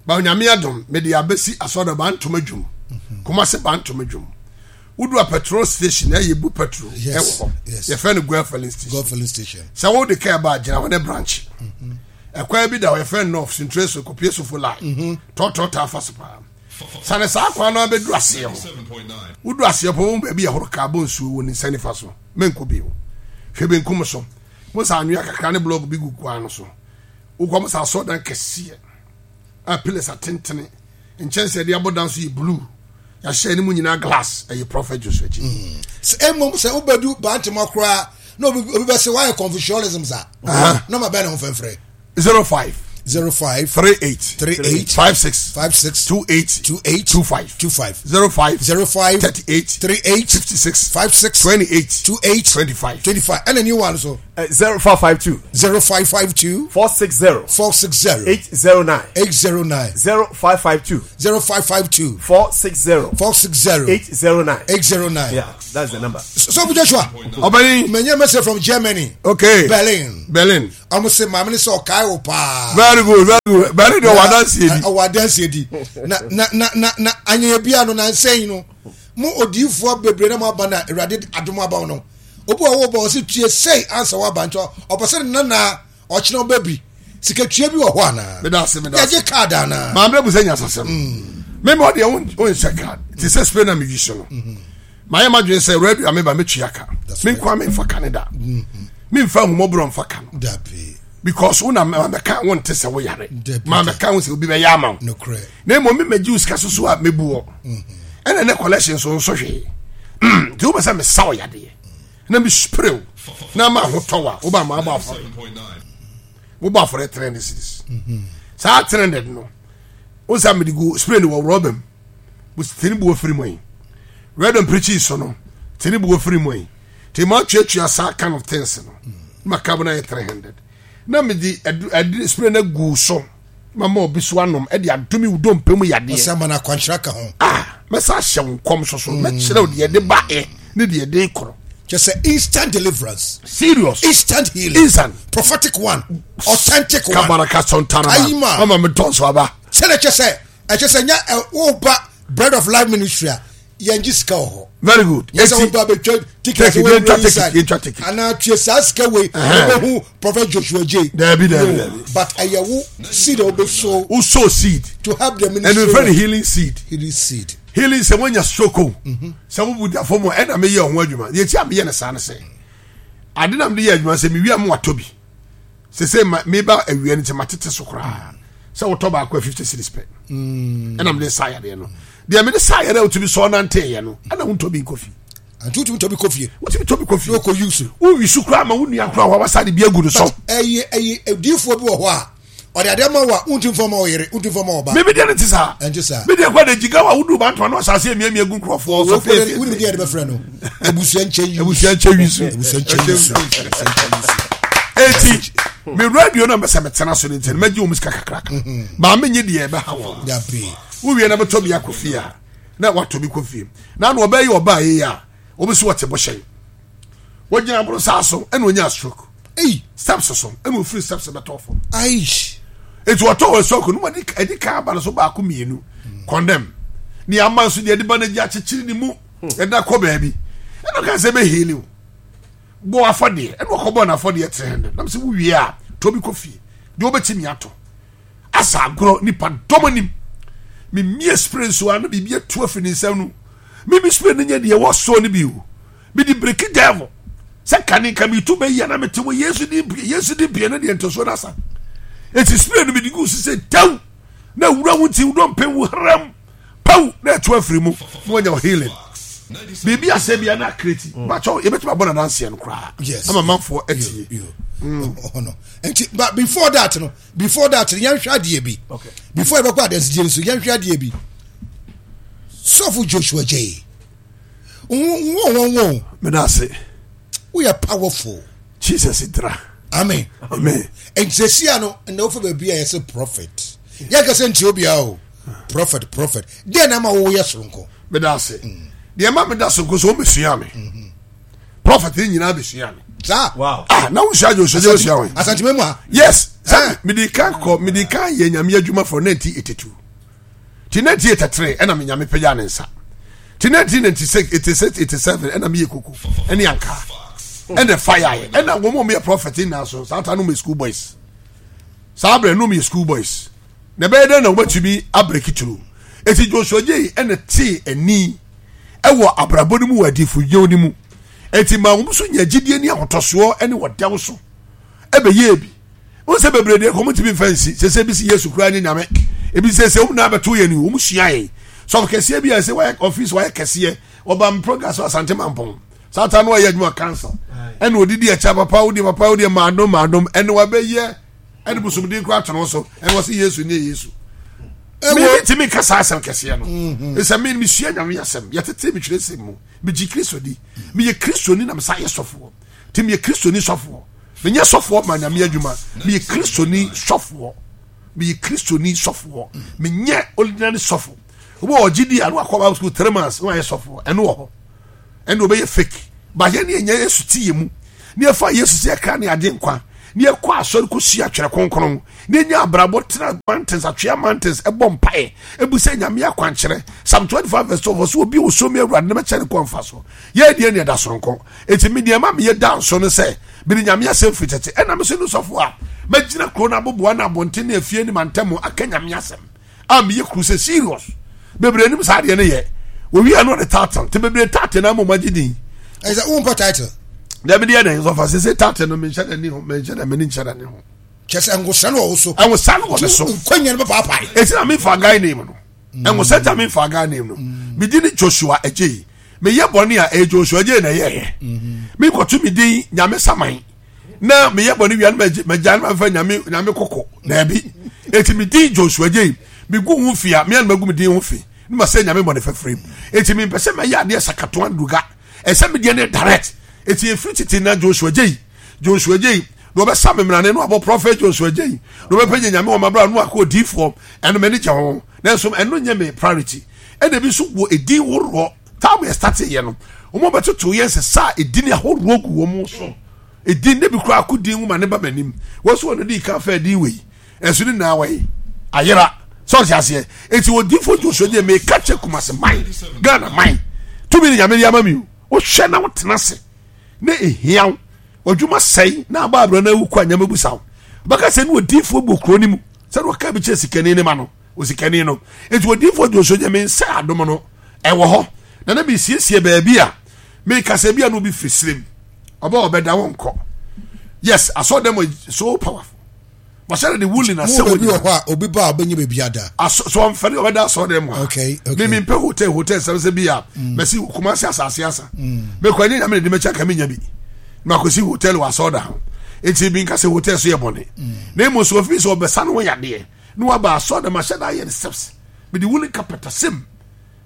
Ba Onyame adom mede abɛsi asɔre Bantoma dwom, Kumase Bantoma dwom. Wodu a petrol station ɛyɛ bu petrol Yes, ɛwɔ hɔ. yes. Yɛfrɛ no Goil filling station. God filling station. Sɛ wode kaa ba a, gyina hɔ ne branch ɛkwan bi da hɔ yɛfrɛ no North Sintre so kɔpie sofo line tɔtɔ taa fa so paa sane saa kwan no abɛdu aseɛ hɔ. Wodu aseɛ pɔ wɔn baabi yɛhoro kaa bɔ nsuo wɔ ne nsa nifa so. Menkɔ bio, hwɛ benkum so mo sa anwea kakra ne block bi gu kwan no so. Wokɔ mo sa asɔdan kɛseɛ a pillars atentene nkyɛnsee de abɔ dan so yɛ blue. Yɛahyɛ anim nyinaa glass. Ɛyɛ Prophet Joshua J. Sɛ mmom sɛ wobɛdu Bantama koraa na obi obi bɛsɛ woayɛ Confucianism sa, nɔma bɛɛ ne ho fɛmfrɛ? zero five zero five three eight three eight five six five six two eight two eight two five two five zero five zero five thirty eight three eight fifty six five six twenty eight two eight twenty five. twenty five. Ɛna new one so? Zero five five two zero five five two four six zero four six zero eight zero nine eight zero nine zero five five two zero five five two four six zero four six zero eight zero nine. eight zero nine. Yeah, that's the number. So Joshua, Ɔbɛni. menya message from Germany. Okay. Berlin. Berlin. Ɔmo se maame ne sɛ ɔkae wo paa. Very good, very good. Berlin de, ɔwɔ adansi edi. Ɔwɔ adansi edi. Na na na na na anyanya bia no na nsɛn no mo odiifoɔ bebree na mo aba na Awurade adom aba wo no, obi wɔ hɔ bɔ ɔsi tue sei ansa waba, nti ɔpɛ sɛ ne nana ɔkyerɛ ɔba bi sika tua bi wɔ hɔ anaa? Meda ase, meda ase. Yɛgye card anaa? Maame bu sɛ nyasasɛm. Mímɔ deɛ o nhyɛ card te sɛ spray na mi yi so no. Maa yɛ ma dwen sɛ radio a meba metua ka. That's Mi right. nkwa mi nfa ka ne da. Mi nfa ahumɔborɔ nfa ka no. Dabi. Because wo na ma mɛka wo nte sɛ wo yare. Dabi. Ma mɛka wo sɛ obi bɛyɛ ama wo. Nokorɛ. Na mmom mi mɛgye wo sika soso a mebu wɔ. Ɛna ne collection so nso hwee. Nti wo bɛ sɛ mesa wo yadeɛ. Na mi spray wo. Na ma ahotɔ wa. Wo ba ma abɔ afɔre. Wo bɔ afɔre three hundred cedis. Saa three hundred no. Wo sɛ mede gu spray no wɔ rɔba mu. Wo tini bu ofiri mu yi. Red and preachy so no. Tini bu ofiri mu yi. Ti ma tuatua saa kind of things no. Ma ka na yɛ three hundred. Na mede adu adu spray no gu so. Ma ma obi so anom ɛde adome wo dompe mu yadeɛ. Ɔsɛ ama no akwankyerɛ ka ho. Ah, mɛsa ahyɛ wo nkɔm so so mɛkyerɛ wo deɛ ɛde ba ɛ ne deɛ ɛde korɔ. Kyɛ sɛ instant deliverance, Serious. instant healing, Instant. prophetic one, authentic one. Kabaraka sɔntara. Ayima. Mama mi tɔn so aba. Sɛdeɛ kyɛ sɛ ɛkyɛ sɛ nya ɛ woba Bread of Life Ministry a, yɛngye sika wɔ hɔ. Very good. Yɛ sɛ Eti- woba bɛtwa ticket, Ticket, wo yɛntwa wura ticket, inside. yɛntwa ticket. Anaa tue saa sika wei, Ɛhɛn. wobɛhu Prophet Joshua J. Dabi, dabi, No, dabi. but ɛyɛ wo seed a wobɛsow Wo sow seed. to help the ɛno ministry. nfɛ ne healing seed. Healing seed. Healing sɛ woanya stroke o, sɛ wobu da fam a, ɛna meyɛ ɔho adwuma. Deɛ ti a meyɛ no saa no sɛ ade na mede yɛ adwuma sɛ mewie a mewatɔ bi sɛ sɛ ma- meba awia no nti matete so koraa sɛ wotɔ baako a fifty cedis pɛ. Ɛna mede sa yadeɛ no, deɛ mede sa yadeɛ a wotumi sɔɔ nanteeɛ no, ɛna wontɔ bi nkɔ fie. Anti wotumi tɔ bi kɔ fie? Wotumi tɔ bi kɔ fie. Na wokɔ use. Wowi so koraa ma wo nua koraa wawasa de bi agu no so. Ɛyɛ ɛyɛ adiifoɔ bi wɔ hɔ a ɔde adeɛ ma wo a, wontumi fɔ ma wo yere, wontumi fɔ ma wo ba. Meme deɛ no te saa. Ɛnte saa. Me deɛ kɔ de gyiga wa wodu bantoma no asase amiamia gu nkurɔfoɔ so. Wonim deɛ yɛde bɛfrɛ no? Abusua nkyɛn yi. Abusua nkyɛn wi so. Abusua nkyɛn yi so. Abusua nkyɛn yi so. Eti me radio no mɛsɛ metena so no nti no mɛgye wɔ mu sika kakraka maa menye deɛ ɛbɛha wɔn. Dabi. Wowie na bɛtɔ bi akɔ fie a, na watɔ bi kɔ fie na na ɔbɛyɛ ɔbaa yi a wɔbɛsi wɔte bɔhyɛn wɔgyina aboro saa so ɛna onya stroke. Ei. Steps so ɛna ofiri steps bɛtɔ fam. Aish. Eti ɔtɔ wɔ stroke no wɔde ɛdi kan aba no so baako mmienu condemn ne ama nso deɛ ɛde ba no agye akyekyere ne mu ɛda kɔ baabi, ɛna ɔka sɛ ɛbɛ heal o, bɔ afɔdeɛ, ɛna ɔkɔbɔ n'afɔdeɛ three hundred. Nam sɛ wowie a, tɔ bi kɔ fie deɛ wobɛtumi atɔ asa agorɔ nipa dɔm anim. Memie spray nso a na biribi atu afiri ne nsam no. Mimi spray no nyɛ deɛ wɔsɔ no bi o, mede break devil sɛ kane nka metu bɛyi a na mete wɔ Yesu de mpie, Yesu de mpie no deɛ ntɔsoɔ no asa. Enti spray no mede gu so sɛ taw na wura wo nti wodɔmpɛ wo haram paw na ɛto afiri mu na wanya healing. Biribi asɛ bia na akreti bakyɛw yɛbɛtumi abɔ nadanseɛ no koraa Yes. ama manfoɔ atie. Yo, yo. Oh, no. Nti but before that no, before that no, yɛnhwɛ adeɛ bi. Okay. Before yɛbɛkɔ adansidie no so, yɛnhwɛ adeɛ bi. Sɔfo Joshua J, wo wo wo Meda ase. Woyɛ powerful. Jesus dra. Amen. Amen. Nti sɛsia no na wofa baabi a yɛsɛ prophet, yɛka sɛ ntie obiara o, prophet, prophet deɛ na ama woyɛ soronko. Meda ase. Deɛ ma meda so nko so wɔbɛsua me, prophet ne nyinaa bɛsua me. Saa. Wow. Ah, na wosua Joshua J, wosua wɔn. Asantema mu a. Yes, Eh. sɛ mede kan kɔ, mede kan yɛ Nyame adwuma for nineteen eighty-two ti nineteen eighty-three, ɛna me Nyame pagya ne nsa ti nineteen ninety-six, eighty-six, eighty-seven, ɛna meyɛ koko ɛne anka ɛna fa yɛ, ɛna wɔn a wɔyɛ prophet nyinaa so saa ta no yɛ school boys. Saa abirɛ no yɛ school boys na ɛbɛyɛ dɛ na wɔbɛtumi abreak through. Eti Joshua J ɛna tee ani ɛwɔ abrabɔ no mu wɔ adifo yɛw no mu, eti maa wɔn nso nya gyidie ne ahotɔsoɔ ɛne wɔdɛw so ɛbɛyɛ bi. Wɔn sɛ bebree deɛ kɔn tumi nfa nsi sɛ sɛ ebi si Yesu kura nye Nyame, ebi sɛ sɛ wɔn na abɛto yɛn ni wɔn sua yɛn Sɔfo kɛseɛ bi a ɛsɛ wayɛ ɔfis wayɛ kɛseɛ, ɔba me program so Asante Mampɔn. Saa ta no ɔyɛ adwuma council. Ɛna odidi ɛkyɛ papa wodi papa wodi maadom maadom ɛna wabɛyɛ ɛde bosomden kora ato no so ɛna wɔsi Yesu ne Yesu. Mi mi ti mi kasa asɛm kɛseɛ no. Ɛsɛ mi mi sua Nyame asɛm yɛtete mi twerɛ sɛm mu mi gye Kristo di mi yɛ Kristo ni na mi sa yɛ sɔfoɔ ti mi yɛ Kristo ni sɔfoɔ mi nyɛ sɔfoɔ ma Nyame adwuma mi yɛ Kristo ni sɔfoɔ mi yɛ Kristo ni sɔfoɔ mi nyɛ ordinary sɔfo. Wọ́n ɔgye di a na wakɔ Bible school three months na wayɛ sɔfoɔ ɛno wɔ hɔ. Ɛna ɔbɛyɛ fake ba yɛn ne yɛnya Yesu ti yɛ mu ne yɛfa Yesu sɛ yɛkra ne agye nkwa ne yɛkɔ asɔre kɔsua atwerɛ kronkron ne yɛnya abrabɔ tena mountains atwea mountains ɛbɔ mpaeɛ ɛbu sɛ Nyame akwankyerɛ. Psalm twenty-five verse twelve ɔsɛ obi ɔsɔ mi Awurade ne mɛkyɛ ne kɔ mfa so. Yɛ deɛ ne ɛda soronko. Enti me deɛ ma meyɛ da nso no sɛ mede Nyame asɛm firi tete ɛna me so no sɔfo a mɛgyina kuro no aboboa no abɔnten ne afie ne mantam aka Nyame asɛm a meyɛ kuru sɛ serious bebree anim saa adeɛ no yɛ owi ano de title te bebree title na mo magye din. Ɛsɛ wo mpɔ title. Dabi deɛ na nsɔfa sese title no menhyɛ n'ani ho menhyɛ na m'ani nhyɛ n'ani ho. Kyɛ sɛ nwosa no wɔ wo so. Nwosa no wɔ me so. Nkwanya no bɛpaapae. Esi na memfa guy name no. Nwosa ta memfa guy name no. Me din ne Joshua Adjei. Meyɛ bɔne a ɛyɛ Joshua Adjei na ɛyɛɛyɛ. Mekɔto me din Nyame Saman. Na meyɛ bɔne wia no magya no mafa nyame nyame kɔkɔ daabi. Eti me din Joshua Adjei megu ho fi a mea no magu me din ho fi ne ma sɛ nyame bɔne fafiri. Eti mempɛ sɛ mɛyɛ adeɛ sakatoa nduga. Ɛsɛ me deɛ ne direct. Eti efiri tete na Joshua Adjei Joshua Adjei na ɔbɛsa me mmerane no abɔ prophet Joshua Adjei na ɔbɛpɛ nyɛ nyame wɔ mabra no akɔ odiifoɔ ɛno m'ani gye ho nanso ɛno nyɛ me priority. Ɛna ebi nso wɔ edin horoɔ time yɛ start yɛ no wɔn bɛtoto yɛn sɛ saa edin ahoroɔ gu wɔn so edin ne bi koraa ko din nwoma ne ba m'anim wɔn so wɔn di kan fɛ edin wei ɛnso ne nyinaa wɔyi ayera sɛ ɔte aseɛ eti odiifoɔ Joshua Adjei meka kyɛ Kumasi man Ghana man tumi ne nyame de ama mi o wohwɛ na wotena ase na ehia wo ɔdwuma sɛe na aba abirɛ na ewu kɔ anyama busa wo bɛka sɛ ne odiifoɔ bɔ kuro ne mu sɛ ne ɔka bi kyerɛ sikani ne ma no osikani no eti odiifoɔ Joshua Adjei me nsa adom no ɛwɔ hɔ na na mesiesie baabi a meka sɛ bi a na obi firi serem ɔbɛ ɔbɛda wo nkɔ. Yes, asɔ dem is so powerful. Mahyɛ de wuli na sɛ obi wɔ hɔ a obi ba a ɔbɛnya baabi ada. Asɔ so ɔmfɛre ɔbɛda asɔ dem hɔ. Okay, okay. Me mempɛ hotel hotel sɛm sɛ bi a mɛsi Kumasi asase asa. Mekɔ ɛnyɛ nyame ne de mɛkyɛ ka menya bi. Makɔsi hotel wɔ asɔ da ho. Enti bi nka sɛ hotel so yɛ bɔne. Na mmom so ofi sɛ ɔbɛsa no ho yadeɛ na waba asɔ dem ahyɛ da ayɛ ne steps. Mede wuli carpet asɛm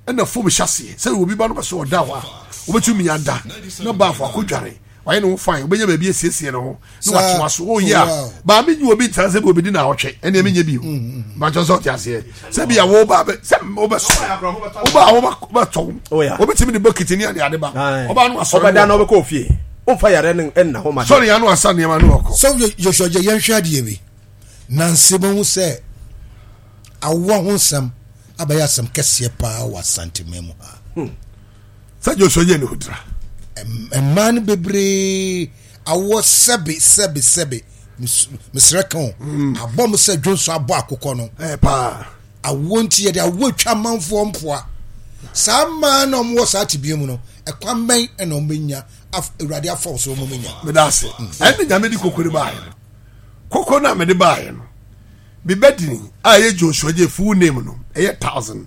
ɛna fom hyɛ aseɛ sɛ obi ba no bɛsɛ ɔda hɔ a wobɛtumi ada na baafo akɔdware wayɛ ne ho fine wobɛnya baabi asiesie ne ho na watoa so woyɛ a baa menye obi ntena sɛ bi obɛdi na awɔtwe ɛneɛ menyɛ bio makyɛ sɛ ɔte aseɛ sɛ bia wo ba sɛ wobɛsɔ woba a wobɛtɔ wobɛtumi de bɔkiti ne ade ade ba ɔba no asɔre ɔbɛda na wobɛkɔ ofie womfa yare no nna hɔ ma sɔre ya no asa nneɛma no ɔkɔ sɛ Joshua gye yɛnhwɛ adeɛ bi nanse mahu sɛ awoɔ ho nsɛm abɛyɛ asɛm kɛseɛ paa wɔ Asantema mu ha. Sɛ Joshua yɛ ne hodira. Mmaa no bebree awoɔ sɛbe sɛbe sɛbe mesrɛ ka o abɔ mo sɛ dwonso abɔ akokɔ no. Ɛɛ paa. Awoɔ nti yɛde awoɔ atwa amanfoɔ mpoa. Saa mmaa na wɔwɔ saa tebea mu no ɛkwan bɛn ɛna wɔn bɛnya Awurade afa so wɔn bɛnya. Meda ase. Ɛne Nyame de koko de baayɛ no. Koko no a mede baayɛ no. Me bɛdini a ɛyɛ Joshua Adjei full name no ɛyɛ thousand